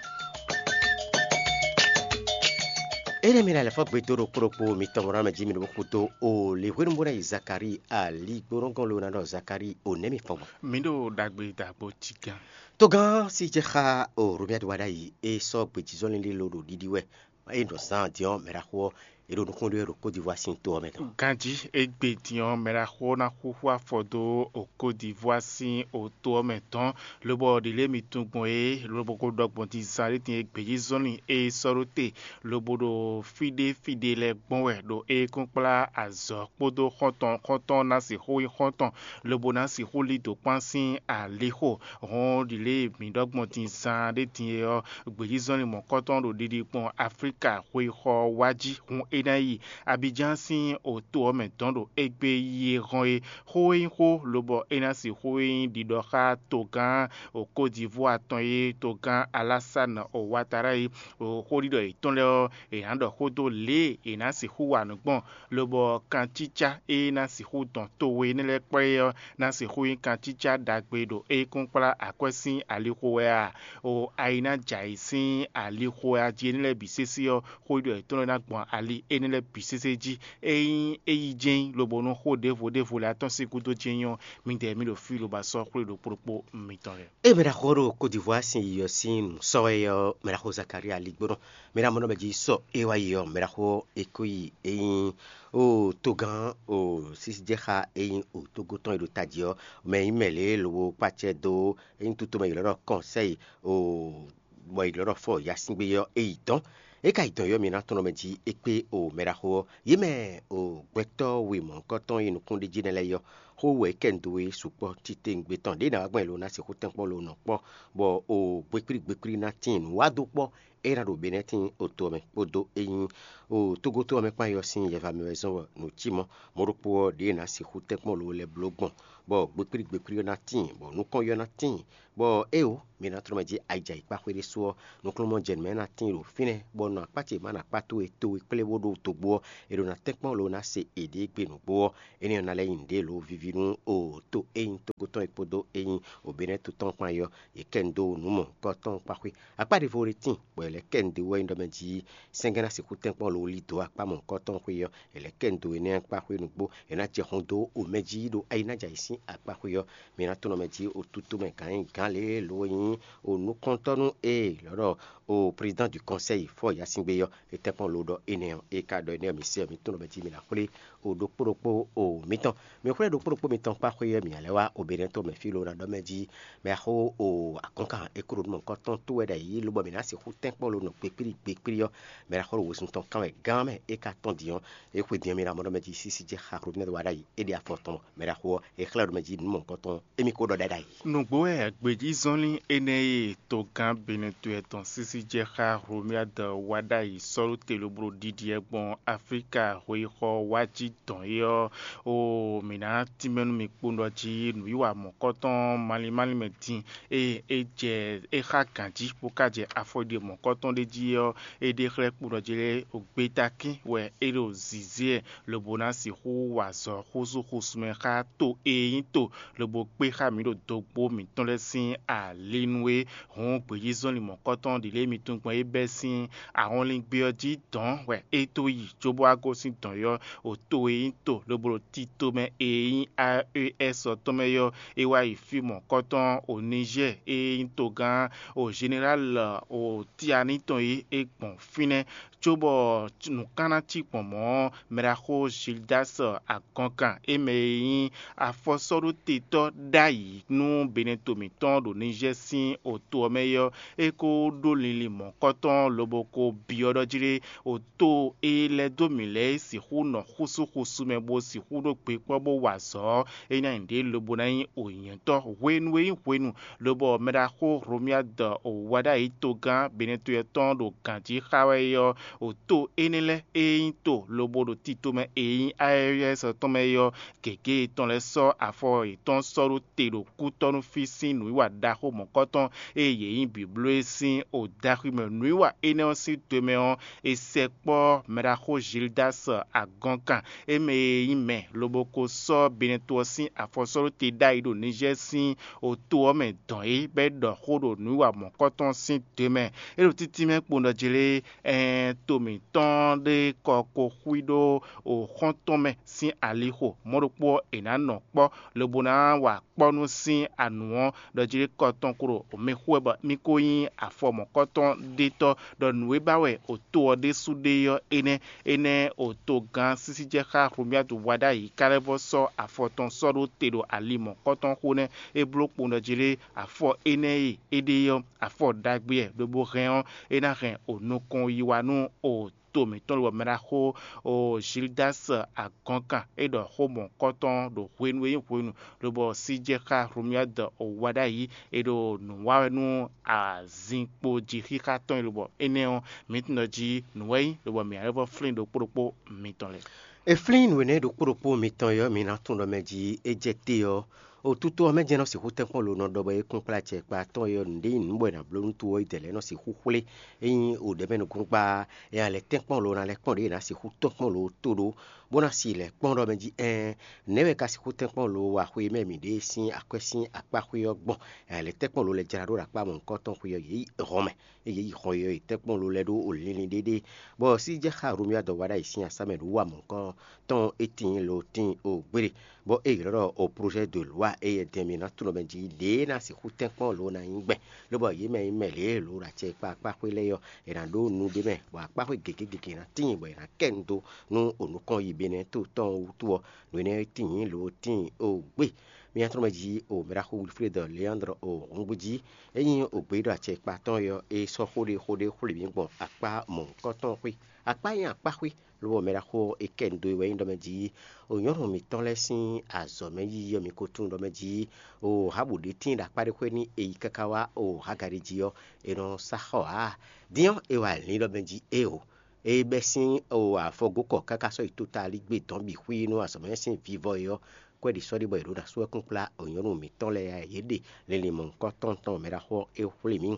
Énɛ́ mi ná lɛ́ fɔ́ gbe dó ɖokpó ɖokpó mitɔn mɔ ná mɛ jí mi ɖo kúdo o lě hwenu bó ná yi Zakalíi ali gbónɔgɔn lo ná ɖɔ Zakalíi o nɛ̌ mi fɔ́n gbɔn. Mi ɖo ɖagbe dagbo cígán. Togán sí jɛ xá o Romiadi wa ɖ'ayǐ é sɔ́ gbějízɔ́lín ɖé lo ɖo ɖiɖi wɛ. É nɔ zán din ɔ́, mɛ ɖaxó ɔ́, é ɖo nukún ɖé wɛ ɖo Côte d'Ivoire sín to ɔ́ mɛ tɔn. Ganjí égbé din ɔ́, mɛ ɖaxó ná xúxú afɔ dó o Côte d'Ivoire sín o to ɔ́ mɛ tɔn, lobɔ ɖě lě mi tunwun gbɔn é, lobo ko ɖɔ gbɔn din zán ɖé din e gbějízɔ́lin e sɔ́ ɖó te, lobo ɖo fí ɖé fí ɖé lɛ́ɛ gbɔn wɛ ɖo é kún kplá azɔ̌ kpódó xɔ́ntɔn xɔ́ntɔn ná sixú nyí xɔ́ntɔn, lobo ná sixú lí dǒ kpán sín alixo. Hɔn ɖi lě e mǐ ɖɔ gbɔn din zaan ɖé din é ɔ́, gbějízɔ́nlin mɔ̌kɔtɔn ɖo ɖiɖi gbɔn Aflíka xweyíxɔ ɔ́ wá jí, hun é ná yi Abidjan sín oto ɔ́ mɛ dɔn ɖo égbé yi e hɔn é. Xó e nyí xó, lobɔ é ná sixú nyí ɖiɖɔ xá togán Côte d'Ivoire tɔn e togán Alassane Ouattara e xóɖiɖɔ yětɔn lɛ́ɛ ɔ́, è nǎ ɖɔ xó dó lě e è nǎ sixú wa nǔ gbɔn, lobɔ kancícá e ná sixú dɔn towe énɛ́ lɛ́ɛ kplé ɔ́ ná sixú nyí kancícá ɖagbe ɖo é kún kplá akwɛ́ sín alixo wɛ a? O ayi ná jɛ ayǐ sín alixo wɛ a jí énɛ́ lɛ́ɛ bǐ sésé ɔ́, xóɖiɖɔ yětɔn lɛ́ɛ ná gbɔn ali énɛ́ lɛ́ɛ bǐ sésé jí. Ényí é yi jɛ́n lobo nú xó ɖěvo ɖěvo lɛ́ɛ atɔ́ sín gúdo jɛ́n nyí ɔ́, midɛɛ mì ɖo fí lobo sɔ́ xwlé ɖokpó ɖokpó mitɔn lɛ́ɛ. Ée mɛ ɖaxó ɖo Côte d'Ivoire sín yi ɔ́ sín nǔ sɔ́ wɛ ɔ́, mɛ ɖaxó Zakaria Ligbónɔ, mɛ ɖaxó mɔnɔ mɛ jí sɔ é wá yi ɔ́, mɛ ɖaxó é kó yi é nyí o togán o sísí jɛ xá é nyí o tógó tɔn e ɖo tají ɔ́, mɛ nyí mɛ lě lobo kpácɛ dó é nyí tutomɛ ylɔ́ ɖɔ kɔnsɛ́yi o bɔ è ɖɔ ɖɔ fɔ yasíngbe ɔ́ é yi dɔn. É ka yi dɔn yɔ mǐ ná tɔn mɛ jí é kpé o mɛ ɖaxó ɔ́. Yě mɛ o gbɛtɔ́ we mɔ̌hunkɔtɔn e nukúnɖéjí nɛ́ lɛ́ɛ yɔ, xó wɛ é kɛ nǔ dó we sukpɔ́ titewungbe tɔn ɖě ná wá gbɔn è lo ná sixú tɛ́nkpɔ́n lo nɔ kpɔ́, bɔ o gbekplí gbekplí ná tíin nǔ wá dó kpɔ́ é ná ɖo Benɛ́tín oto ɔ́ mɛ kpódó é nyí o tógótó ɔ́ mɛ kpán yɔ sín yɛva mɛ wɛ zɔ́n bɔ nǔ cí mɔ̌. Mɔ̌ ɖokpó ɔ́, ɖě ná sixú tɛ́nkpɔ́n lo lɛ́ bló gbɔn, bɔ gbekplí gbekplí ɔ́ ná tíin, bɔ nukɔn yɔ ná tíin, bɔ éeǒ, mi ná tlɔ́ mɛ jí ayǐjayǐkpá xwé ɖésú ɔ́, nukúnnú jɛ nǔ mɛ ná tíin ɖo fínɛ́, bɔ nɔ akpá ce ma nɔ akpá towe towe kplé bó ɖó dogbo ɔ́, è ɖo ná tɛ́nkpɔ́n lo ná se èɖée gbe nǔgbó ɔ́, énɛ́ ɔ́ ná lɛ́ nyí nǔɖé lǒ víví nú o to e nyí tógó tɔn é kpódó e nyí oběnɛ́ to tɔn kpán é ɔ́, yě kɛ nu dó nǔ mɔ̌hunkɔtɔn kpá xwé. Akpá ɖěvo ɖé tíin, bɔ è lɛ́ kɛ nu dó wɛ nyí ɖɔ mɛ jí sɛ́ngɛ́ ná sixú tɛ́nkpɔ́n lo lí dǒ akpá mɔ̌hunkɔtɔn xwé ɔ́, è lɛ́ kɛ nu dó énɛ́ kpá xwé nǔgbó, è nǎ jɛ hun dó omɛ jí ɖo ayi ná jɛ ayǐ sín akpá xwé ɔ́, mi ná tunɔ mɛ jí o tútú mɛ gǎn nyí gǎn lě e lǒ nyí o nukɔntɔ́ nú ée lɔ̌ ɖɔ o président du conseil fɔ yasíngbe ɔ́, é tɛ́nkpɔ́n lo ɖɔ énɛ́ ɔ́, é ka ɖɔ énɛ́ ɔ́, mi se ɔ́, mi tunɔ mɛ jí mi ná xwlé o ɖokpó ɖokpó o mitɔn. Mi xwlé ɖokpó ɖokpó mitɔn kpá xwé ɔ́, mi ǎ lɛ́ wá o Benɛ́ to mɛ fí lo ná ɖɔ mɛ jí mɛ xó o akɔ́nkan é kúɖo nú mɔ̌hunkɔtɔn tó wɛ ɖ'ayǐ, lobɔ mǐ ná sixú tɛ́nkpɔ́n lo nɔ gbekplí gbekplí ɔ́, mɛ ɖaxó ɖo wezun tɔn kán wɛ gán mɛ é ka tɔ́n din ɔ́, é xwe din ɔ́ mì ɖo amɔ̌ ɖɔ mɛ jí sísí jɛ xa Rodinɛ́ wá ɖ'ayǐ, é ɖe afɔ tɔn mɛ ɖaxó ɔ́, é xlɛ́ ɖo mɛ jí nǔ mɔ̌hunkɔtɔn émí ko ɖɔ ɖɛ ɖ'ayǐ. Nǔgbó wɛ gbějízɔnlín énɛ́ e togán Benɛtɔ́ tɔn sísí jɛ xá Hlomyád wá ɖ'ayǐ sɔ́ ɖó te lobo ɖo ɖiɖi ɛ gbɔn Aflíka hweyixɔ wá jí dɔn é ɔ́, o mǐ ná tínmɛ nú mi kpowun ɖɔ jí nǔwiwa mɔ̌kɔtɔn malín málín mɛ din e é jɛ é xá gǎn jí bó ka jɛ afɔɖiɖe mɔ̌kɔtɔn ɖé jí ɔ́, é ɖe xlɛ́ kpowun ɖɔ jí lɛ́ɛ o gbeta kín wɛ é ɖo zǐzé ɛ lobo ná sixú wa azɔ̌ xúzú xúsumɛ xá to e nyí to lobo kpé xá mǐ ɖo dogbo mǐtɔn lɛ́ɛ sín ali nú é. Hǔn gbějízɔnlin mɔ̌kɔtɔn ɖě lɛ́ɛ mi tunwun gbɔn é bɛ́ sín ahɔnlingbe ɔ́ jí dɔ̌n wɛ é tó yi, cóbó wá gosín dɔ̌n yɔ́ o to e nyí to lobo ɖo tito mɛ e nyí A E S ɔ́ tɔn mɛ yɔ́, é wá yi fí mɔ̌kɔtɔn o Nizɛ́ɛ e nyí togán o Zenerál o Tiani tɔn e é gbɔn fínɛ́, cóbɔ nǔkanná cí gbɔn mɔ̌, mɛɖaxó Zildas agɔnkan e mɛ e nyí afɔsɔ́ɖótetɔ́ ɖ'ayǐ nú Benɛto mǐtɔn ɖo Nizɛ́ɛ sín oto ɔ́ mɛ é ɔ́, é ko ɖó linlin mɔ̌kɔtɔn lobo ko byɔ́ ɖɔ jí ɖé, oto e lɛ́ dó mǐ lɛ́ɛ é sixú nɔ xúsúxúsú mɛ bó sixú ɖó gbe kpɔ́ bó wa azɔ̌ ɔ́, é ná nyí ɖě lobo ná nyí o nyɛ̌tɔ́ hwenu e nyí hwenu, lobɔ mɛɖaxó Hlomyád o wá ɖ'ayǐ togán Benɛto tɔn ɖo gǎnjí xá wɛ é ɔ́, o to énɛ́ lɛ́ɛ e nyí to lobo ɖo tito mɛ e nyí Ayɛ́yɛ́sɔ tɔn mɛ é ɔ́, gěgé yětɔn lɛ́ɛ sɔ́ afɔ yětɔn sɔ́ ɖó te ɖo kútɔ́ nú fí sín nǔwiwa ɖaxó mɔ̌kɔtɔn e yě nyí bǐbló é sín o daxwi mɛ. Nǔwiwa énɛ́ ɔ́ sín to e mɛ ɔ́, è sɛkpɔ́ mɛɖaxó Zildas agɔnkan e mɛ e nyí mɛ lobo ko sɔ́ Benɛto ɔ́ sín afɔsɔ́ɖóte ɖ'ayǐ ɖo Nizɛ́ɛ sín oto ɔ́ mɛ dɔn é, bɔ é ɖɔ xó ɖo nǔwiwa mɔ̌kɔtɔn sín to e mɛ. É ɖo títí mɛ kpowun ɖɔ jí lé, ɛɛn to mǐtɔn ɖé kɔ ko xwí ɖó o xɔ́ntɔn mɛ sín alixo, mɔ̌ ɖokpó ɔ́, è nǎ nɔ kpɔ́ lobo ná wa kpɔ́ nú sín anu ɔ́, ɖɔ jí ɖé kɔ tɔn klo mɛ xú wɛ bɔ mì ko nyí afɔ mɔ̌kɔtɔn ɖétɔ́, ɖɔ nǔ e ba wɛ o to ɔ́ ɖésú ɖe ɔ́ énɛ́. Énɛ́ o togán sísíjɛxá Hlomyádu wá ɖ'ayǐ ká lɛ́ vɔ́ sɔ́ afɔ tɔn sɔ́ ɖó te ɖo ali mɔ̌kɔtɔn xó nɛ́. É bló kpowun ɖɔ jí ɖé afɔ énɛ́ e é ɖe ɔ́, afɔ ɖagbe wɛ, lobo hɛn ɔ́, é ná hɛn o nukɔn yi wá nú o to mǐtɔn lobɔ mɛ ɖaxó o Zildas agɔnkan é ɖɔ xó mɔ̌kɔtɔn ɖo hwenu e nyí hwenu, lobɔ síjɛxá Hlomyád o wá ɖ'ayǐ, é ɖo nǔ wa wɛ nú azinkpo jí xixa tɔn e lobɔ énɛ́ ɔ́, mǐ tunwun ɖɔ jí nǔ wɛ nyí, lobɔ mǐ ná lɛ́ vɔ́ flín ɖokpó ɖokpó mitɔn lɛ́ɛ. È flín nǔ énɛ́ ɖokpó ɖokpó mitɔn e ɔ́, mi ná tunwun ɖɔ mɛ jí é jɛ te ɔ́, otutu ɔ́ mɛ jɛ́n nɔ sixú tɛ́nkpɔ́n lo nɔ ɖɔ bɔ é kún kplá acɛ kpa atɔ́ɔ́n é ɔ́, nǔɖé nyí nǔ bɔ è nǎ bló nú to ɔ́, é dɛ lɛ́ɛ nɔ sixú xwlé. Ényí o ɖɛ̌ mɛ nukúnnú kpa ɔ́, è nǎ lɛ́ tɛ́nkpɔ́n lo ná lɛ́ kpɔ́n ɖě è nǎ sixú tɔ́nkpɔ́n lo tó ɖó, bó ná si lɛ̌ kpɔ́n ɖɔ mɛ jí ɛɛn, nɛ̌ wɛ ka sixú tɛ́nkpɔ́n lo wa xwe e mɛ mǐ ɖe sín akwɛ́ sín akpá xwé ɔ́ gbɔn? Lɛ̌ tɛ́nkpɔ́n lo lɛ jlá ɖó ɖo akpá mɔ̌hunkɔtɔn xwe ɔ́, yě yi hɔn mɛ, ée yě yi hɔn e ɔ́, yě tɛ́nkpɔ́n lo lɛ́ ɖó linlin ɖéɖé, bɔ sí jɛ xá Romia dɔ wa ɖ'ayǐ sín asá mɛ ɖo wa mɔ̌hunkɔtɔn e tíin lo tíin o gbére, bɔ é ylɔ́ ɖɔ o projet de loi e yɛ dɛn mǐ ná tunwun mɛ jí ɖě ná sixú tɛ́nkpɔ́n lo ná nyí gbɛn, lobɔ yě mɛ nyí mɛ lě e lo ɖo acɛ kpá akpá xwé lɛ́ɛ ɔ́, è nǎ ɖó nu ɖ'é mɛ, bɔ akpá xwé gěgé gěgé ná tíin, bɔ è nǎ kɛ nu dó nú o nukɔn yi Benɛ́ɛ to tɔn ɔ́ wútu ɔ́, nǔ énɛ́ e tíin lo tíin o gbé. Mí nyatrɔ́mɛ jí o mɛɖaxó Wilfred Leandre o hɔngbó jí, é nyí o gbé ɖo acɛ kpa tɔn e ɔ́, é sɔ́ xó ɖé xó ɖé xwlé mǐ gbɔn akpá mɔ̌hunkɔtɔn xwé. Akpá nyí akpá xwé, lobɔ mɛɖaxó ɔ́, é kɛ nu dó e wɛ nyí ɖɔ mɛ jí o nyɔ̌nu mǐtɔn lɛ́ɛ sín azɔ̌ mɛ yiyi ɔ́, mi ko tunwun ɖɔ mɛ jí o Habu ɖě tíin ɖo akpá ɖé xwé nú è yi káká wá o Hagari jí ɔ́, è nɔ sá xɔ ǎ. Din ɔ́, è wa lǐn ɖɔ mɛ jí éeǒ. É bɛ́ sín o afɔgókɔ káká sɔ́ yi tóta aligbé dɔ̌n bǐ xwí nú azɔ̌ mɛ sín vivɔ é ɔ́, kwɛ́ ɖě sɔ́ ɖe bɔ è ɖǒ ná sú ɛkún kplá o nyɔ̌nu mǐtɔn lɛ́ɛ ǎ, yě ɖe linlin mɔ̌hunkɔtɔn tɔn mɛ ɖaxó ɔ́ é xwlé mì.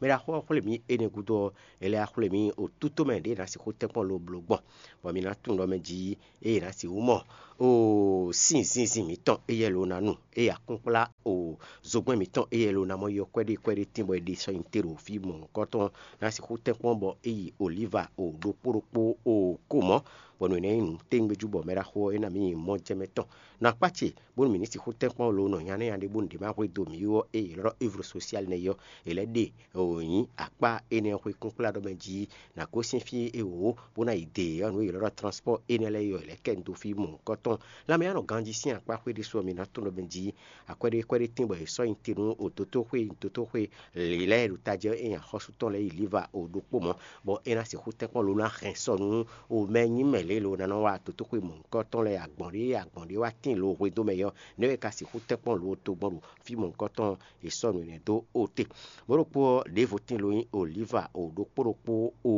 Mɛ ɖaxó ɔ́ xwlé mì énɛ́ gúdo ɔ́, è lɛ́ wá xwlé mì o tútomɛ ɖě è nǎ sixú tɛ́nkpɔ́n lo bló gbɔn, bɔ mi ná tunwun ɖɔ mɛ jí ée è nǎ sixú mɔ o sín zinzin mǐtɔn éyɛ́ lo ná nu, ée akún kplá o zogbɛ́n mǐtɔn éyɛ́ lo ná mɔ yɔ kwɛ́ɖé kwɛ́ɖé tín bɔ è ɖe sɔ́ nyi te ɖo fí mɔ̌hunkɔtɔn ná sixú tɛ́nkpɔ́n bɔ é yi olíva o ɖokpó ɖokpó o ko mɔ̌, bɔ nǔ énɛ́ nyí nǔ tégbéjú bɔ mɛ ɖaxó ɔ́ é ná mǐ nyi mɔjɛmɛ tɔn. Nɔ akpá ce bónú mǐ ní sixú tɛ́nkpɔ́n lo nɔ nya nɛ́ nya ɖé bónú ɖě ma hwedó mǐ ó, ée è ylɔ́ ɖɔ ivru sosiali nɛ́ é ɔ́, è lɛ́ ɖe wǒ nyí akpá énɛ́ ɔ́ xwé kúnkplá ɖɔ mɛ jí nǎ gosín fí e wǒ bó ná yi de ɔ́, nǔ e è ylɔ́ ɖɔ transpɔ́ɔ énɛ́ lɛ́ɛ é ɔ́, è lɛ́ kɛ nu dó fí mɔ̌hunkɔtɔn. Lanmɛ ɔ́ nɔ ganjí sín akpá xwé ɖésú ɔ́, mi ná tunwun ɖɔ mɛ jí akwɛ́ɖé kwɛ́ɖé tín bɔ è sɔ́ nyi te nú o dotóxwé nyi dotóxwé lǐlɛ́ e ɖo tají ɔ́, é nyi axɔ́sú tɔn lɛ́ɛ yi Liva o ɖokpó mɔ̌, bɔ é ná sixú tɛ́nkpɔ́n lo ná hɛn sɔ nú o mɛ nyí mɛ lě e lo ná nɔ wá dotóxwé mɔ̌hunkɔtɔn lɛ́ɛ agbɔ̌n ɖé agbɔ̌n ɖé wá tíin lo hwedó mɛ é ɔ́, nɛ̌ wɛ è ka sixú tɛ́nkpɔ́n lo togbɔn ɖo fí mɔ̌hunkɔtɔn e sɔ́ nǔ énɛ́ dó o te. Mɔ̌ ɖokpó ɔ́, ɖěvo tíin lo nyí Olíva o ɖokpó ɖokpó o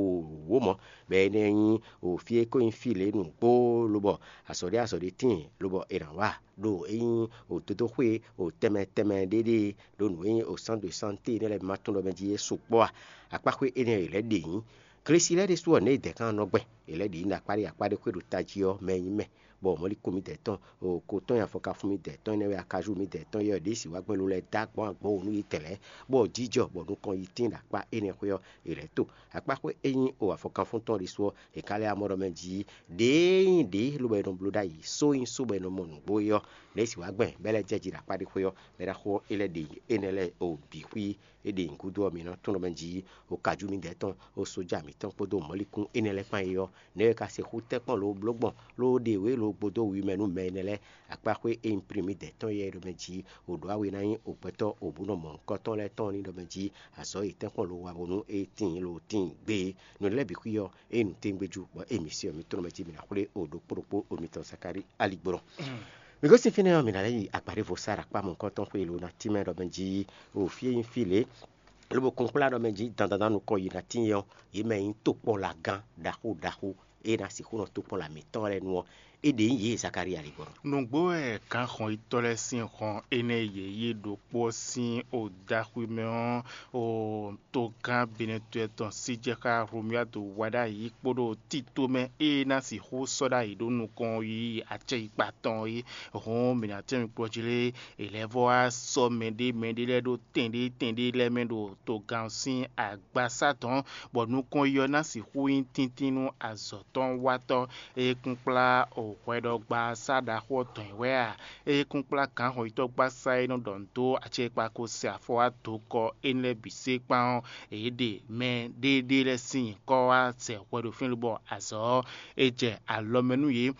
wǒ mɔ̌, bɔ énɛ́ nyí o fí e ko nyí fí lě nǔgbó, lobɔ azɔ̌ ɖé azɔ̌ ɖé tíin lobɔ è nǎ wa ɖo é nyí o dodóxwé o tɛnmɛ tɛnmɛ ɖé ɖée ɖo nǔ e nyí o sándu e sánté énɛ́ lɛ́ɛ ma tɔn ɖɔ mɛ jí é sukpɔ́ a? Akpáxwé énɛ́ e è lɛ́ ɖe nyǐ. Glesi lɛ́ɛ ɖésú ɔ́, nɛ̌ è dɛ̌ kan nɔ gbɛn? È lɛ́ ɖě nyí ɖo akpá ɖé akpá ɖé xwé ɖo tají ɔ́ mɛ nyí mɛ, bɔ mɔ̌likún midɛɛ tɔn, ko tɔn nyi afɔkafun midɛɛ tɔn énɛ́ wɛ akajú midɛɛ tɔn yɛ ɖě si wá gbɛn lo lɛ́ɛ dó agbɔ̌n agbɔ̌n wǒ nú yě tɛn lɛ́ɛ, bɔ jijɔ bɔ nukɔn yi tín ɖo akpá énɛ́ xwé ɔ́, è lɛ̌ to. Akpáxwé e nyí o afɔkafun tɔn ɖésú ɔ́, è ka lɛ́ amɔ ɖɔ mɛ jí ɖěe nyí ɖě lobo è nɔ bló ɖ'ayǐ, só nyí só bɔ è nɔ mɔ nǔgbó é ɔ́, lě e è si wá gbɛn bɔ é lɛ́ jɛ jí ɖo akpá ɖé xwé ɔ́, mɛ ɖaxó ɔ́, é lɛ́ ɖe énɛ́ lɛ́ɛ o bǐ xwí. É ɖe nyǐgúdo ɔ́, mi nɔ tunwun ɖɔ mɛ jí o kajú midɛɛ tɔn, o sójà mǐtɔn kpódó mɔ̌likún énɛ́ lɛ́ɛ kpán é ɔ́, nɛ̌ wɛ ka sixú tɛ́nkpɔ́n lǒ bló gbɔn, ló ɖe wě lo gbódó wi mɛ nú mɛ énɛ́ lɛ́ɛ? Akpáxwé e nyí plin midɛɛ tɔn yɛ ɖɔ mɛ jí o ɖǒ awe ná nyí o gbɛtɔ́ o bǔ nɔ mɔ nukɔntɔn lɛ́ɛ tɔn ní ɖɔ mɛ jí azɔ̌ yětɛn kpɔ́n lo wa bónú é tíin lo tíin gbé é. Nǔ lɛ́ɛ bǐ xwí ɔ́, é nyí nǔtɛ́ngbéjú, bɔ émí se ɔ́, mǐ tlɔ́n mɛ jí mǐ ná xwlé o ɖokpó ɖokpó o mitɔn Zakalíi aligbɔnɔ. Mǐ gosín fínɛ́ ɔ́, mǐ ná lɛ́ yi agbǎɖévo Sara kpá mɔ̌hunkɔtɔn xwé lo ná tínmɛ ɖɔ mɛ jí o fí e nyí fí lě, lobo kún kplá ɖɔ mɛ jí dandan nukɔn yi ná tíin ɔ́, yě mɛ e nyí tokpɔ́n lagán ɖaxó ɖaxó e ná sixú nɔ tokpɔ́n la mǐtɔn lɛ́ɛ nu ɔ́, é ɖě nyí yě Zakalíi aligbɔnɔ. Nǔgbó wɛ gǎnxɔnyitɔ́ lɛ́ɛ sín hɔn énɛ́ e yě yí ɖokpó ɔ́ sín odaxwimɛ ɔ́, o togán Benɛtɔ́ tɔn Sijɛxá Hlomyadu wa ɖ'ayǐ kpódó tito mɛ e ná sixú sɔ́ ɖ'ayǐ ɖó nukɔn yi acɛyikpa tɔn é. Hǔn mǐ ná tɛ́nmɛ kplɔ́ jí lé, è lɛ́ vɔ́ wá sɔ́ mɛɖé mɛɖé lɛ́ɛ ɖó tɛnɖé tɛnɖé lɛ́ɛ mɛ ɖo togán ɔ́ sín agbasá dɔ̌n, bɔ nukɔn yi ɔ́ ná sixú nyí tíntín nú azɔ̌ tɔn watɔ́. Ée kún kplá hwɛɖɔgbasá ɖaxó ɔ́ dɔn ɛ wɛ a? Ée kún kplá gǎnhɔnyitɔ́gbasá e nɔ ɖɔ nǔ dó acɛkpa ko se afɔ wá dokɔ énɛ́ lɛ́ɛ bǐ sé kpán ɔ́, yě ɖe mɛ ɖéeɖée lɛ́ɛ sín nyǐkɔ wá zɛ hwɛ ɖo fínɛ́ bɔ azɔ̌ ɔ́, é jɛ alɔ mɛ nú yě.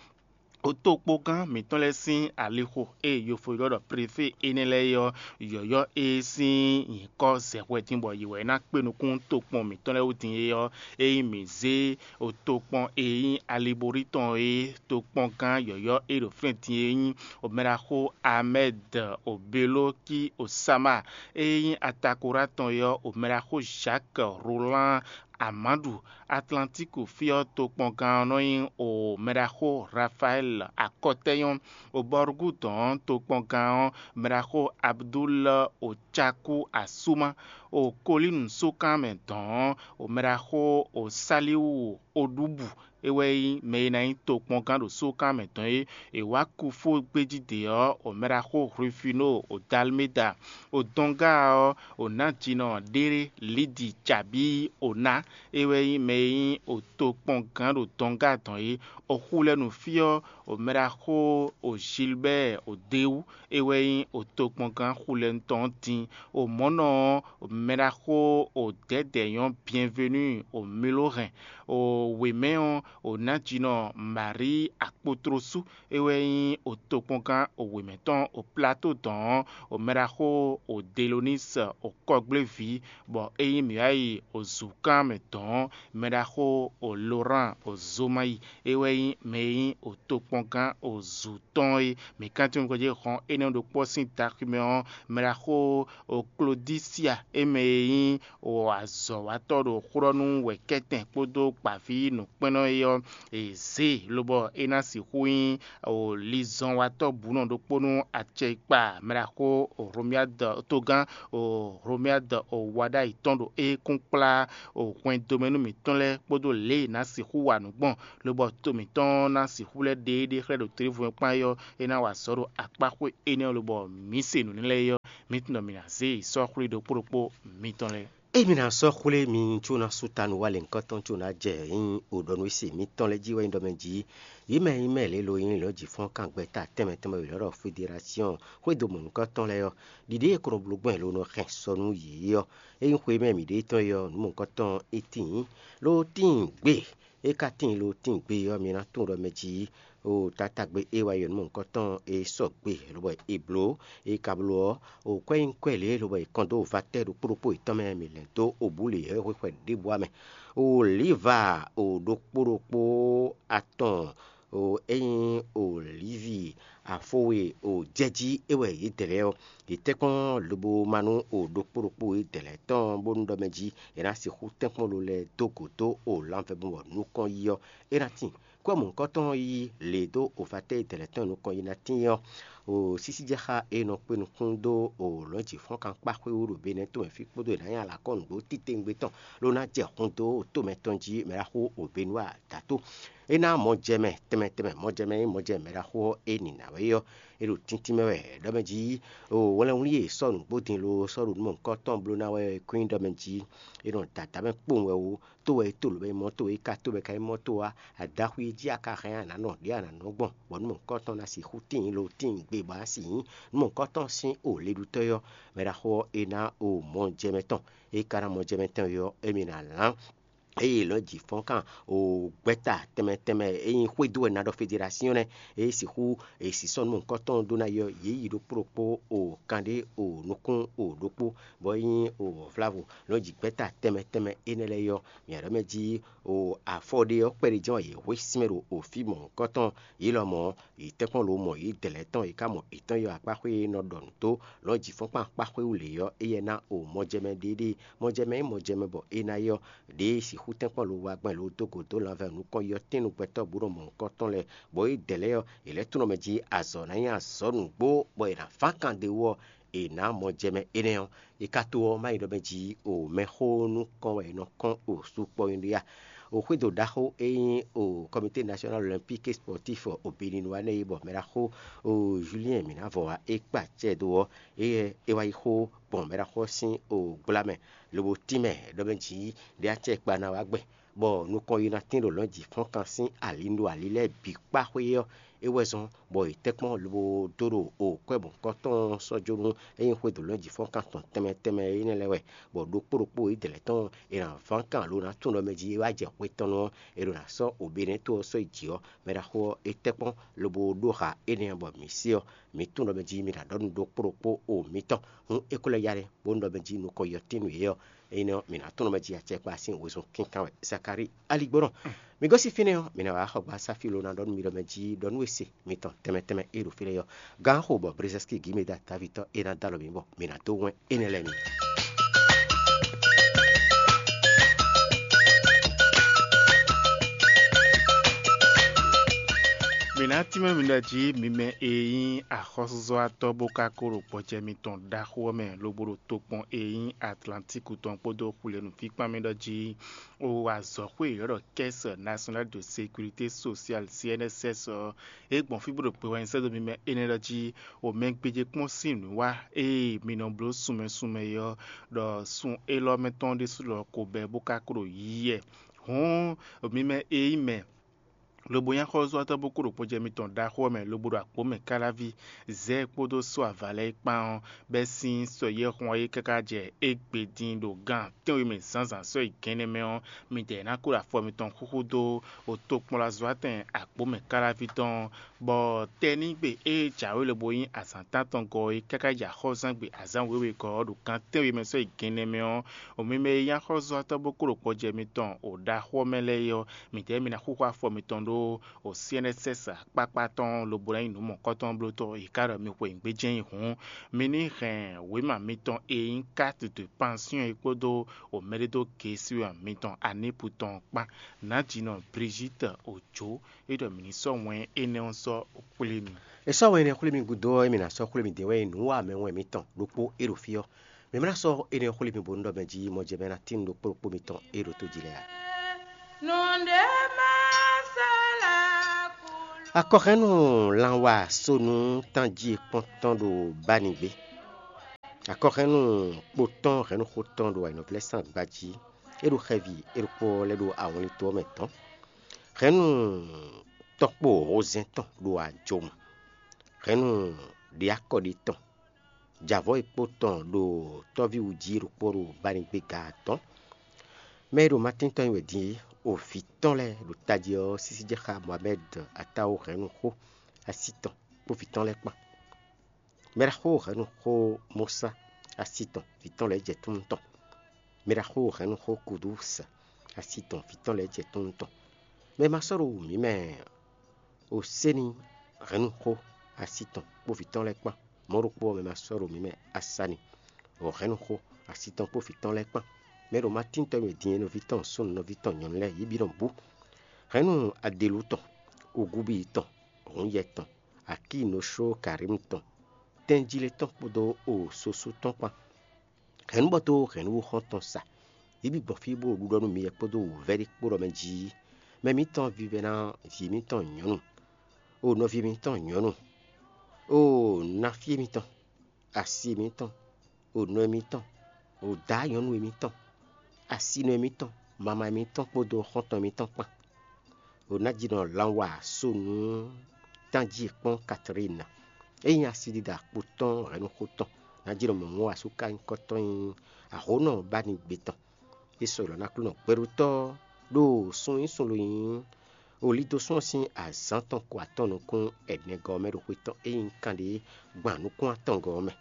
Tokpɔngán mǐtɔn lɛ́ɛ sín alixo e yofo ylɔ́ ɖɔ prefé énɛ́ lɛ́ɛ é ɔ́, yɔ̌yɔ́ e sín nyǐkɔ zɛ hwɛ din bɔ yě wɛ ná kpé nukún tokpɔn mǐtɔn lɛ́ɛ wú din é ɔ́, ényí mǐ zé tokpɔn e nyí Aliborí tɔn é, tokpɔngán yɔ̌yɔ́ e ɖo fínɛ́ din é nyí omɛɖaxó Amɛ́d Obelóki Osáma, e nyí Atakorá tɔn é ɔ́, omɛɖaxó Zhǎk Rolán Amáɖu. Atlantíku fí ɔ́ tokpɔngán ɔ́ nɔ nyí o mɛɖaxó Rafaɛ́li Akɔtɛ́nyɔ́, o Bɔrugúdɔn ɔ́ tokpɔngán ɔ́ mɛɖaxó Abdul Ocakú Asúma, o Kolínu sókan mɛ dɔn ɔ́ o mɛɖaxó o Sálíwu Oɖúbǔ, é wɛ nyí mɛ e ná nyí tokpɔngán ɖo sókan mɛ dɔn é. È wǎ kú fó gbéjí ɖě ɔ́, o mɛɖaxó Hlwifino, o Dalméda, o Dɔnga ɔ́, o Nǎjínɔ ɖé Lidi Jabíi o ná, é wɛ nyí mɛ e nyí o tokpɔngán ɖo Dɔnga dɔn é. O xú lɛ́ɛ nu fí ɔ́, o mɛɖaxó o Gilbɛ́ɛ o Dewú, é wɛ nyí o tokpɔngán xulɛnutɔn ɔ́ din. O mɔ̌ nɔ ɔ́, o mɛɖaxó o Dɛ̌dɛ̌ nyɔ́ Byɛnvenu o Milóhɛn, o wěmɛ ɔ́, o Nǎjínɔ Maríi Akpotlosu, é wɛ nyí o tokpɔngán o wěmɛ tɔn o Plato dɔn ɔ́, o mɛɖaxó o Delonise o kɔgbléví, bɔ é nyí mǐ wá yi o zǔkan mɛ dɔn ɔ́, mɛɖaxó o Lorán o Zomayi, é wɛ nyí mɛ e nyí o tokpɔngán o zǔ tɔn é. Mǐ kan tunwun nukɔn jí xɔn énɛ́ ɖokpó ɔ́ sín daxi mɛ ɔ́, mɛɖaxó o Klodisia, é mɛ e nyí o azɔ̌watɔ́ ɖo xlɔ́ nú wɛ̌kɛ́tɛn kpódó gbǎví nǔkpɛ́nnɔ é ɔ́, è zě e lobɔ é ná sixú nyí o lizɔnwatɔ́ bǔnɔ ɖokpó nú acɛkpa mɛɖaxó o Hlomyád togán, o Hlomyád o wa ɖ'ayǐ tɔn ɖo ékún kplá o hwɛndo mɛ nú mǐtɔn lɛ́ɛ kpódó lě e è nǎ sixú wa nǔ gbɔn, lobɔ to mǐtɔn ná sixú lɛ́ ɖe éɖée xlɛ́ ɖo tlěvú mɛ kpán é ɔ́, é ná wa azɔ̌ ɖo akpáxwé énɛ́ ɔ́ lobɔ mǐ se nǔ n'i lɛ́ɛ é ɔ́, mǐ tunwun ɖɔ mǐ ná zé yi sɔ́ xwlí ɖokpó ɖokpó mǐtɔn lɛ́ɛ. Emi ná sɔ́ xwlé mi có ná sú ta nú wa lěhunkɔtɔn có ná jɛ nyí o ɖɔ nú se mǐtɔn lɛ́ɛ jí wɛ nyí ɖɔ mɛ jí. Yě mɛ nyí mɛ lě lo nyí lɔ̌ jǐ fɔ́n kan gbɛta tɛnmɛ tɛnmɛ wěwé ɖɔ federasiɔn xwédo mɔ̌hunkɔtɔn lɛ́ɛ ɔ́, ɖiɖe e kɔnɔ bló gbɔn lo nɔ hɛn sɔ nú yě ɔ́, é nyí xwe mɛ mǐ ɖe tɔn é ɔ́, nǔ mɔ̌hunkɔtɔn é tíin, ló tíin gbe. É ka tíin lo tíin gbe ɔ́, mi ná tunwun ɖɔ mɛ jí o tatagbe e wá yɔ nǔ mɔ̌hunkɔtɔn e sɔgbe lobɔ è blǒ. E ka bló ɔ́, o kwɛ́ nyí kwɛ́ lě lobɔ è kɔn dó vatɛ́ ɖokpó ɖokpó yětɔn mɛ mǐ lɛ̌n dó obǔ lě hwexwɛ ɖěbǔ ǎ mɛ. O lǐva o ɖokpó ɖokpó atɔn o é nyí o lǐvi afo e o jɛjí é wɛ yě dɛ lɛ́ɛ ɔ́, yě tɛ́ kpɔ́n lobo ma nú o ɖokpó ɖokpó yě dɛ lɛ́ɛ tɔn bónú ɖɔ mɛ jí è nǎ sixú tɛ́nkpɔ́n lo lɛ́ɛ dó gǒ dó o lanvɛ bɔ nukɔn yi ɔ́, é ná tíin. Kwɛ́ mɔ̌hunkɔtɔn yí lě dó ofatɛ́ e dɛ̌lɛ́ tɔn e nukɔn yi ná tíin ɔ́, o sísíjɛxá e nɔ kpé nukún dó o lɔ̌njǐfɔ́nkankpáxwé wú ɖo Benɛ́ tomɛ fí kpódó è nǎ nyi alakɔ́ nǔgbó titewungbe tɔn ló ná jɛ hun dó tomɛ tɔn jí mɛ ɖaxó o Benúa dǎtó. É ná mɔ jɛ mɛ tɛnmɛ tɛnmɛ, mɔ jɛ mɛ e mɔ jɛ mɛ ɖaxó ɔ́ e nǐ ná wɛ é ɔ́, é ɖo tíntín mɛ wɛ ɖɔ mɛ jí o wlɛnwlí e sɔ́ nǔgbó din lo sɔ́ ɖo nǔ mɔ̌hunkɔtɔn bló ná wɛ é kún nyí ɖɔ mɛ jí é nɔ da dǎ mɛ kpowun wɛ ó. Tó wɛ é to lǒ bɔ é mɔ tó, é ka tó bɔ é ka nyí mɔ tó ǎ. Adaxwi e jí a ka hɛn a nǎ nɔ ɖě a nǎ nɔ gbɔn, bɔ nǔ mɔ̌hunkɔtɔn ná sixú tíin lo tíin gbe bɔ a sì nyí nǔ mɔ̌hunkɔtɔn sín o leɖútɔ́ ɔ́, mɛ ɖaxó ɔ́, é ná o mɔ jɛ mɛ tɔn. É ka ná mɔ jɛ mɛ tɔn ɔ́, émí ná lán. Eye lɔ̌ jǐ fɔ́n kan o gbɛta tɛnmɛ tɛnmɛ e nyí xwédo wɛ ná ɖɔ federasiɔn nɛ́, e sixú e sisɔ́ nú mɔ̌hunkɔtɔn ɖó ná yɔ yě yi ɖokpó ɖokpó o kanɖé o nukún o ɖokpó, bɔ é nyí o vlavo lɔ̌ jǐ gbɛta tɛnmɛ tɛnmɛ énɛ́ lɛ́ɛ yɔ. Mǐ ɖɔ mɛ jí o afɔ ɖé ɔ́ kpɛɖé jɛ́n wɛ yě hwe sinmɛ ɖo o fí mɔ̌hunkɔtɔn. Yě lɔmɔ̌, yě tɛ́nkpɔ́n lo mɔ yě dɛ̌ lɛ́ɛ tɔn, yě ka mɔ yětɔn yɔ akpáxwé e nɔ ɖɔ nǔ dó lɔ̌ jǐ fɔ́nkpan akpáxwé wú lě ɔ́, éyɛ́ ná o mɔjɛmɛ ɖéɖé. Mɔjɛmɛ e mɔjɛmɛ bɔ é ná yɔ ɖěe sixú tɛ́nkpɔ́n lo wá gbɛn lo dó go dó lanvɛ nukɔn yɔtɛ́nnu gbɛtɔ́ bǔ ɖo mɔ̌hunkɔtɔn lɛ́ɛ, bɔ é dɛ̌ lɛ́ɛ ɔ́, yě lɛ́ tunwun mɛ jí azɔ̌ ná nyí azɔ̌ nǔgbó, bɔ è nǎ fán kan ɖ'é wú ɔ́, è nǎ mɔ jɛ mɛ énɛ́ ɔ́, è ka to ɔ́ má nyí ɖɔ mɛ jí o mɛxó nukɔn wɛ è nɔ kɔn o sukpɔ́ nyí ɖé a? O xwédo ɖaxó e nyí o Comité National Olympique et Sportif o Bénin wá nɛ́ é bɔ mɛ ɖaxó o Julien Mǐnavɔ wá é kpa acɛ dó ɔ́, é é wá yi xó gbɔn mɛ ɖaxó ɔ́ sín o gbla mɛ, lobo tínmɛ ɖɔ mɛ jí ɖé acɛ kpa ná wá gbɛn, bɔ nukɔn yi ná tín ɖo lɔ̌njǐ fɔ́nkan sín ali ɖo ali lɛ́ɛ bǐ kpá xwé ɔ́, é wɛ zɔ́n bɔ è tɛ́ kpɔ́n lobo dó ɖo o kwɛ́ mɔ̌hunkɔtɔn sɔ́ jó nú é nyí xwédo lɔ̌njǐ fɔ́nkan tɔn tɛnmɛ tɛnmɛ énɛ́ lɛ́ɛ wɛ, bɔ ɖokpó ɖokpó yědɛɛ lɛ́ɛ tɔn è nǎ ván kan alo ná tunwun ɖɔ mɛ jí é wá jɛ xwe tɔn nu ɔ́, è ɖo ná sɔ́ oběnɛ́ tó ɔ́ sɔ́ yi jǐ ɔ́, mɛ ɖaxó ɔ́, é tɛ́ kpɔ́n lobo ɖó ha énɛ́ ɔ́ bɔ mǐ se ɔ́, mǐ tunwun ɖɔ mɛ jí mi ná ɖɔ nú ɖokpó ɖokpó o mitɔn. Hǔn é ko lɛ́ ya ɖe bónú ɖɔ mɛ jí nukɔn yɔtín nǔ yě ɔ́, énɛ́ ɔ́, mǐ ná tunwun ɖɔ mɛ jí acɛkpa sín wezun kínkan wɛ. Zakalíi aligbɔnɔ. Mi gosín fínɛ́ ɔ́, mi ná wá xɔ gbasá fí lo ná ɖɔ nú mi ɖɔ mɛ jí ɖɔ nú e se mitɔn tɛnmɛ tɛnmɛ e ɖo fí lɛ́ɛ ɔ́. Gǎnxo bɔ Brezɛ́ski Gimeda Davitɔ e ná dó alɔ mi bɔ mi ná dó wɛn énɛ́ lɛ́ɛ mi. Mǐ ná tínmɛ mi ɖɔ jí mi mɛ e nyí axɔ́súzɔ́watɔ́ bó ka ko ɖo gbɔjɛ mitɔn ɖaxó ɔ́ mɛ lobo ɖo tokpɔn e nyí Atlantíku tɔn kpódó xwlenu fíkpán mɛ ɖɔ jí o azɔ̌xwé e ylɔ́ ɖɔ Caisse Nationale de Sécurité Sociale, C N S S, ɔ́, é gbɔn fí bó ɖo gbe wɛ nyi sɛ́ dó mi mɛ énɛ́ ɖɔ jí o mɛ gbéjé kpɔ́n sín nǔ wá ée mi nɔ bló sunmɛ sunmɛ é ɔ́, ɖɔ sun élɔ́ mɛ tɔn ɖésú lɔ ko bɛ́ bó ka ko ɖo yiyɛ. Hǔn mi mɛ e nyí mɛ lobo nyí axɔ́súzɔ́watɔ́ bó kó ɖo gbɔjɛ mitɔn ɖaxó ɔ́ mɛ lobo ɖo akpǒ mɛ káláví zɛ̌ kpódó sɔ́ avǎ lɛ́ɛ kpán ɔ́, bɛ́ sín sɔ́ yɛ́hun ɔ́ é káká jɛ égbé dín ɖo gan tɛ́nwe mɛ zǎnzǎn sɔ́ yi gɛ́nɛ mɛ ɔ́, midɛɛ ná kó ɖo afɔ mitɔn xúxú dó o tokpɔnlazɔ́watɛn akpǒ mɛ káláví tɔn, bɔ tɛnígbe e jǎwe lobo nyí azǎn tántɔngɔ́ é káká yi axɔ́zán gbe azǎn wěwegɔ́ ɔ́ ɖo gan tɛ́nwe mɛ sɔ́ yi gɛ́nɛ mɛ ɔ́, o mi mɛ e nyí axɔ́súzɔ́watɔ́ bó kó ɖo gbɔjɛ mitɔn o ɖaxó ɔ́ mɛ lɛ́ɛ é ɔ́, midɛɛ mi ná xúxú afɔ mitɔn ɖó o C N S S akpákpá tɔn lobo ná nyí nǔ mɔ̌kɔ́tɔn blótɔ́ è ká ɖɔ mi xweyǐgbe jɛ́n nyi hǔn, mi ní hɛn wěma mitɔn e nyí carte de pension é kpódó o mɛɖédógesíwɛn mitɔn Anipu tɔn kpán. Nǎjínɔ Brigitte Ojo é ɖɔ mǐ ní sɔ́ wɛn énɛ́ ɔ́ sɔ́ xwlé mi. È sɔ́ wɛn énɛ́ xwlé mi gúdo ɔ́, émí ná sɔ́ xwlé midɛɛ wɛ nǔwanmɛwɛn mitɔn ɖokpó e ɖo fí ɔ́. Mǐ ma ná sɔ́ énɛ́ xwlé mi bónú ɖɔ mɛ jí mɔjɛmɛ ná tín nú ɖokpó ɖokpó mitɔn e ɖo tojǐ lɛ́ɛ ǎ. Nǔɖé má sɔ́ lɛ́ kú. Akɔhɛ́nnu lanwa sónú tánjí kpɔ́ntɔ́n ɖo Bánigbé. Akɔhɛ́nnu kpotɔ́n hɛ̌nnuxó tɔn ɖo ayǐnɔvlɛ́sán gbají. É ɖo xɛvi é ɖokpó ɔ́ lɛ́ ɖo awɔnlin to ɔ́ mɛ tɔn. Hɛ̌nnu tɔkpo hozɛ́n tɔn ɖo ajomu. Hɛ̌nnu ɖiakɔ́ɖi tɔn jɛ avɔ̌ e kpó tɔn ɖo tɔ́ví wú jí ɖokpó ɖo Bánigbé ga atɔ́ɔ́n. Mɛ e ɖo Matín tɔn nyi wɛ din é, o vǐ tɔn lɛ́ɛ ɖo tají ɔ́ sísí jɛ xá Mohamɛ́d Atáwo hɛ̌nnu xó así tɔn kpó vǐ tɔn lɛ́ɛ kpán. Mɛ ɖaxó hɛ̌nnu xó Mosá así tɔn vǐ tɔn lɛ́ɛ jɛ túnnu tɔn. Mɛ ɖaxó hɛ̌nnu xó Kudúsa así tɔn vǐ tɔn lɛ́ɛ jɛ túnnu tɔn. Mɛ ma sɔ́ ɖo wǔ mǐ mɛ Oséni hɛ̌nnu xó así tɔn kpó vǐ tɔn lɛ́ɛ kpán. Mɔ̌ ɖokpó ɔ́, mɛ ma sɔ́ ɖo mǐ mɛ Asani, o hɛ̌nnu xó así tɔn kpó vǐ tɔn lɛ́ɛ kpán. Mɛ ɖo Matín tɔn e din e nɔví tɔn súnnu nɔví tɔn nyɔ̌nu lɛ́ɛ yě bǐ nɔ bú. Hɛ̌nnu Adelú tɔn, Ogúbíyi tɔn, Hǔnyɛ tɔn, Akíinoshó Karímu tɔn, tɛ́njílé tɔn kpódó o sosú tɔn kpán. Hɛ̌nnu bɔ dó hɛ̌nnu xɔ́ntɔn sa. Yě bǐ gbɔn fí bó ɖo ɖuɖɔ nú mi wɛ kpódó wǔvɛ́ ɖé kpó ɖɔ mɛ jí. Mɛ mǐtɔn vívɛ́ná vǐ mǐtɔn nyɔ̌nu, o nɔví mǐtɔn nyɔ̌nu, o nafí mǐtɔn, asi mǐtɔn, o nɔ mǐtɔn, o dǎ nyɔ̌nu mǐtɔn, asinɔ mǐtɔn, mama mǐtɔn kpódó xɔ́ntɔn mǐtɔn kpán. O ná ji nɔ lan wa so nú tánjí kpɔ́n Katlín. É nyí asidida kpo tɔn hɛ̌nnuxó tɔn. Ná ji nɔ mɔ mɔ̌ asúkanyíkɔ tɔn nyí ahǒnɔ bánigbé tɔn. É sɔ́ ylɔ̌ ná Aklúnɔ gbɛɖótɔ́ ɖo sun nyí sun lo nyí o lídó sún ɔ́ sín azǎn tɔn ko atɔn nukún ɛnɛgɔ́ ɔ́ mɛ ɖo xwe tɔn e nyí kanɖé gban nukún atɔngɔ́ ɔ́ mɛ.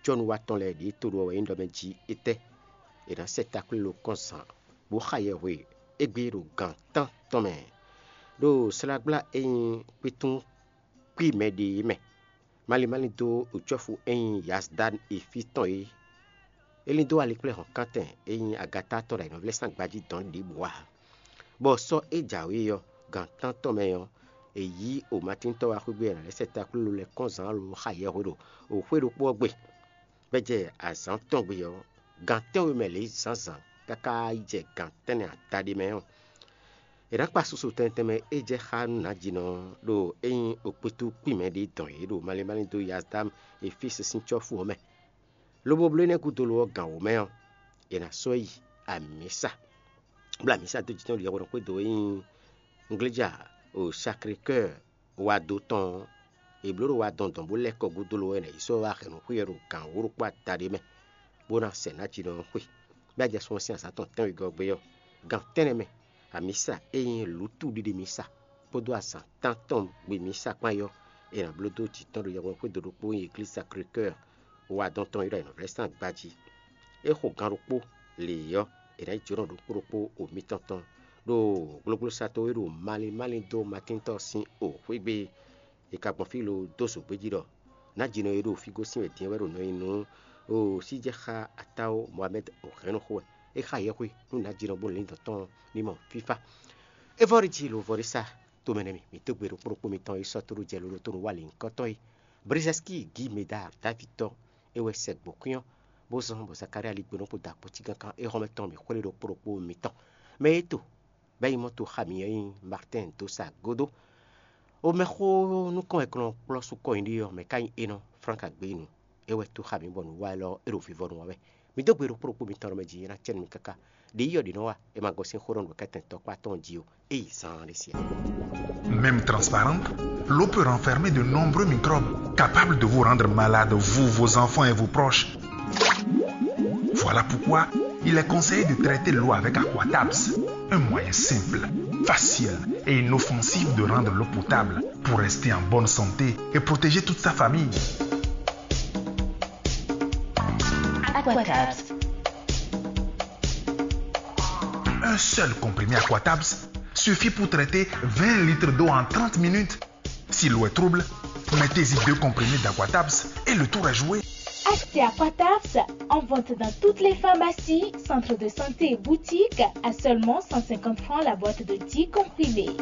Cɔ́nuwatɔ́ lɛ́ɛ ɖě to ɖo wɛ nyí ɖɔ mɛ jí étɛ́? È nǎ sɛ takwílo kɔn zǎn bó xa yɛhwe égbé ɖo gan tán tɔn mɛ, ɖo slágbla e nyí kpétún kpí mɛ ɖe é mɛ. Malín malín dó cɔ́fu e nyí Yazdan e fí tɔn é. É lín dó alikplɛ́hɔ̌nkántɛn e nyí Agatá tɔn ɖo ayǐnɔvlɛ́sán gbají dɔn ɖěbǔ ǎ. Bɔ sɔ́ é jǎwe ɔ́, gan tántɔn mɛ ɔ́, è yí omatíntɔ́ wá xwé gbe e è nǎ lɛ́ sɛ taklúlo lɛ́ɛ kɔn zǎn alo xa yɛhwe ɖo xwé ɖokpó ɔ́ gbe. Bɔ é jɛ azǎn tɔn gbe ɔ́, gan tɛ́nwe mɛ lě zǎnzǎn káká yi jɛ gan tɛ́nnɛ adaɖé mɛ ɔ́, è nǎ kpa susu tɛnmɛ tɛnmɛ e jɛ xá nú nǎjinɔ ɖo é nyí okpítú kpí mɛ ɖé dɔn yě ɖo malín malín dó Yazdámu e fí sín cɔ́fu ɔ́ mɛ. Lobo bló énɛ́ gúdo lo ɔ́ gǎn wǒ mɛ ɔ́, è nǎ sɔ́ yi amǐsa. Bla amǐsa dó jǐ tɔn ɖo yɛhweɖɔn xwédo e nyí ngléja o Sacré-Cœur wá dó tɔn ɔ́, è blǒ ɖo wá dɔn dɔn bó lɛ́ kɔ gúdo lo wɛ nɛ yě sɔ́ wá hɛn nǔ xwíyɛ ɖo gǎn wǒ ɖokpó adaɖé mɛ, bó ná sɛ nǎjinɔ ɔ́ xwe. Bɔ é jɛ sun ɔ́ sín azǎn tɔn tɛ́nwegɔ́ gbe ɔ́, gan tɛ́nnɛ mɛ, amǐsa e nyí lǔtu ɖiɖi mísa kpódó azǎn tántɔn gbe mísa kpán é ɔ́, è nǎ bló dó jǐ tɔn ɖo yɛhweɖɔn xwédo ɖokpó e nyí Eglíza Sacré-Cœur wá dɔn tɔn e ɖo ayǐnɔvlɛ́sán gbají. É xo gan ɖokpó lě ɔ́, è nǎ yi jǒnɔ ɖokpó ɖokpó o mitɔn tɔn ɖo gblógblósatɔ́ e ɖo malín malín dó Matíntɔ́ sín o xwé gbe. È ka gbɔn fí lo dó zǒgbéjí ɖɔ nǎjinɔ e ɖo fí gosín wɛ din ɔ́ wɛ ɖo nɔ nyi nú o síjɛxá atáwo Mohamɛ́d o hɛ̌nnu xo wɛ. É xa yɛhwe nú nǎjinɔ bó lǐndɔ̌n tɔn ní mɔ fífá. É vɔ́ ɖi jí lo vɔ́ ɖi sá. Tomɛ nɛ́ mi, mǐ dó gbe ɖokpó ɖokpó mitɔn e sɔ́ tóɖó jɛ lolo tó nǔ wa lǐnnyíkɔtɔn é. Brizɛskíi Gíi Medár Davitɔ́ é wɛ sɛ gbǒ kwín ɔ́, bó zɔ́n bɔ Zakália ligbónɔ kpó dó akpɔ́cí káká é hɔn mɛ tɔn mǐ xwlé ɖokpó ɖokpó mitɔn. Mɛ e to bɔ é nyí mɔ̌ to xá mǐ ɔ́ nyí Martɛ́n Dosa Godó. O mɛxó nukɔn e kplɔ́n kplɔ́ sú kɔ nyi ɖe ɔ́, mɛ ka nyí enɔ Flánka Gbeyínu. É wɛ tó xá mǐ bɔ nǔ wa élɔ́ é ɖo vivɔnu wa wɛ. Mi dó gbe ɖokpó ɖokpó mitɔn ɖɔ mɛ jǐ nyí ná cɛ́nú mi káká. Ɖě yi ɔ́ ɖě nɔ wa, é ma gosín xó nɔ ɖo kɛ́tɛn tɔkpá tɔn jí ó. Ée zaan ɖé siá. Même transparente, l'eau peut renfermer de nombreux microbes capables de vous rendre malade, vous, vos enfants et vos proches. Voilà pourquoi il est conseillé de traiter l'eau avec Aquatabs, un moyen simple, facile et inoffensif de rendre l'eau potable pour rester en bonne santé et protéger toute sa famille. Aquatabs. Un seul comprimé Aquatabs suffit pour traiter vingt litres d'eau en trente minutes. Si l'eau est trouble, mettez-y deux comprimés d'Aquatabs et le tour est joué. Achetez Aquatabs en vente dans toutes les pharmacies, centres de santé et boutiques à seulement cent cinquante francs la boîte de dix comprimés.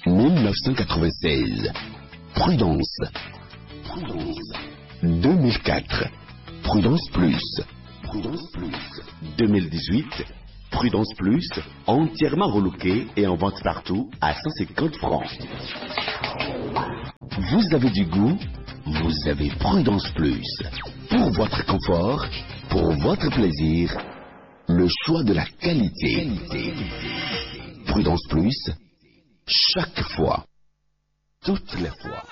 Mille neuf cent quatre-vingt-seize. Prudence. Prudence. Deux mille quatre. Prudence Plus. Prudence Plus. Deux mille dix-huit. Prudence Plus, entièrement relooké et en vente partout à cent cinquante francs. Vous avez du goût, vous avez Prudence Plus. Pour votre confort, pour votre plaisir, le choix de la qualité. Prudence Plus, chaque fois, toutes les fois.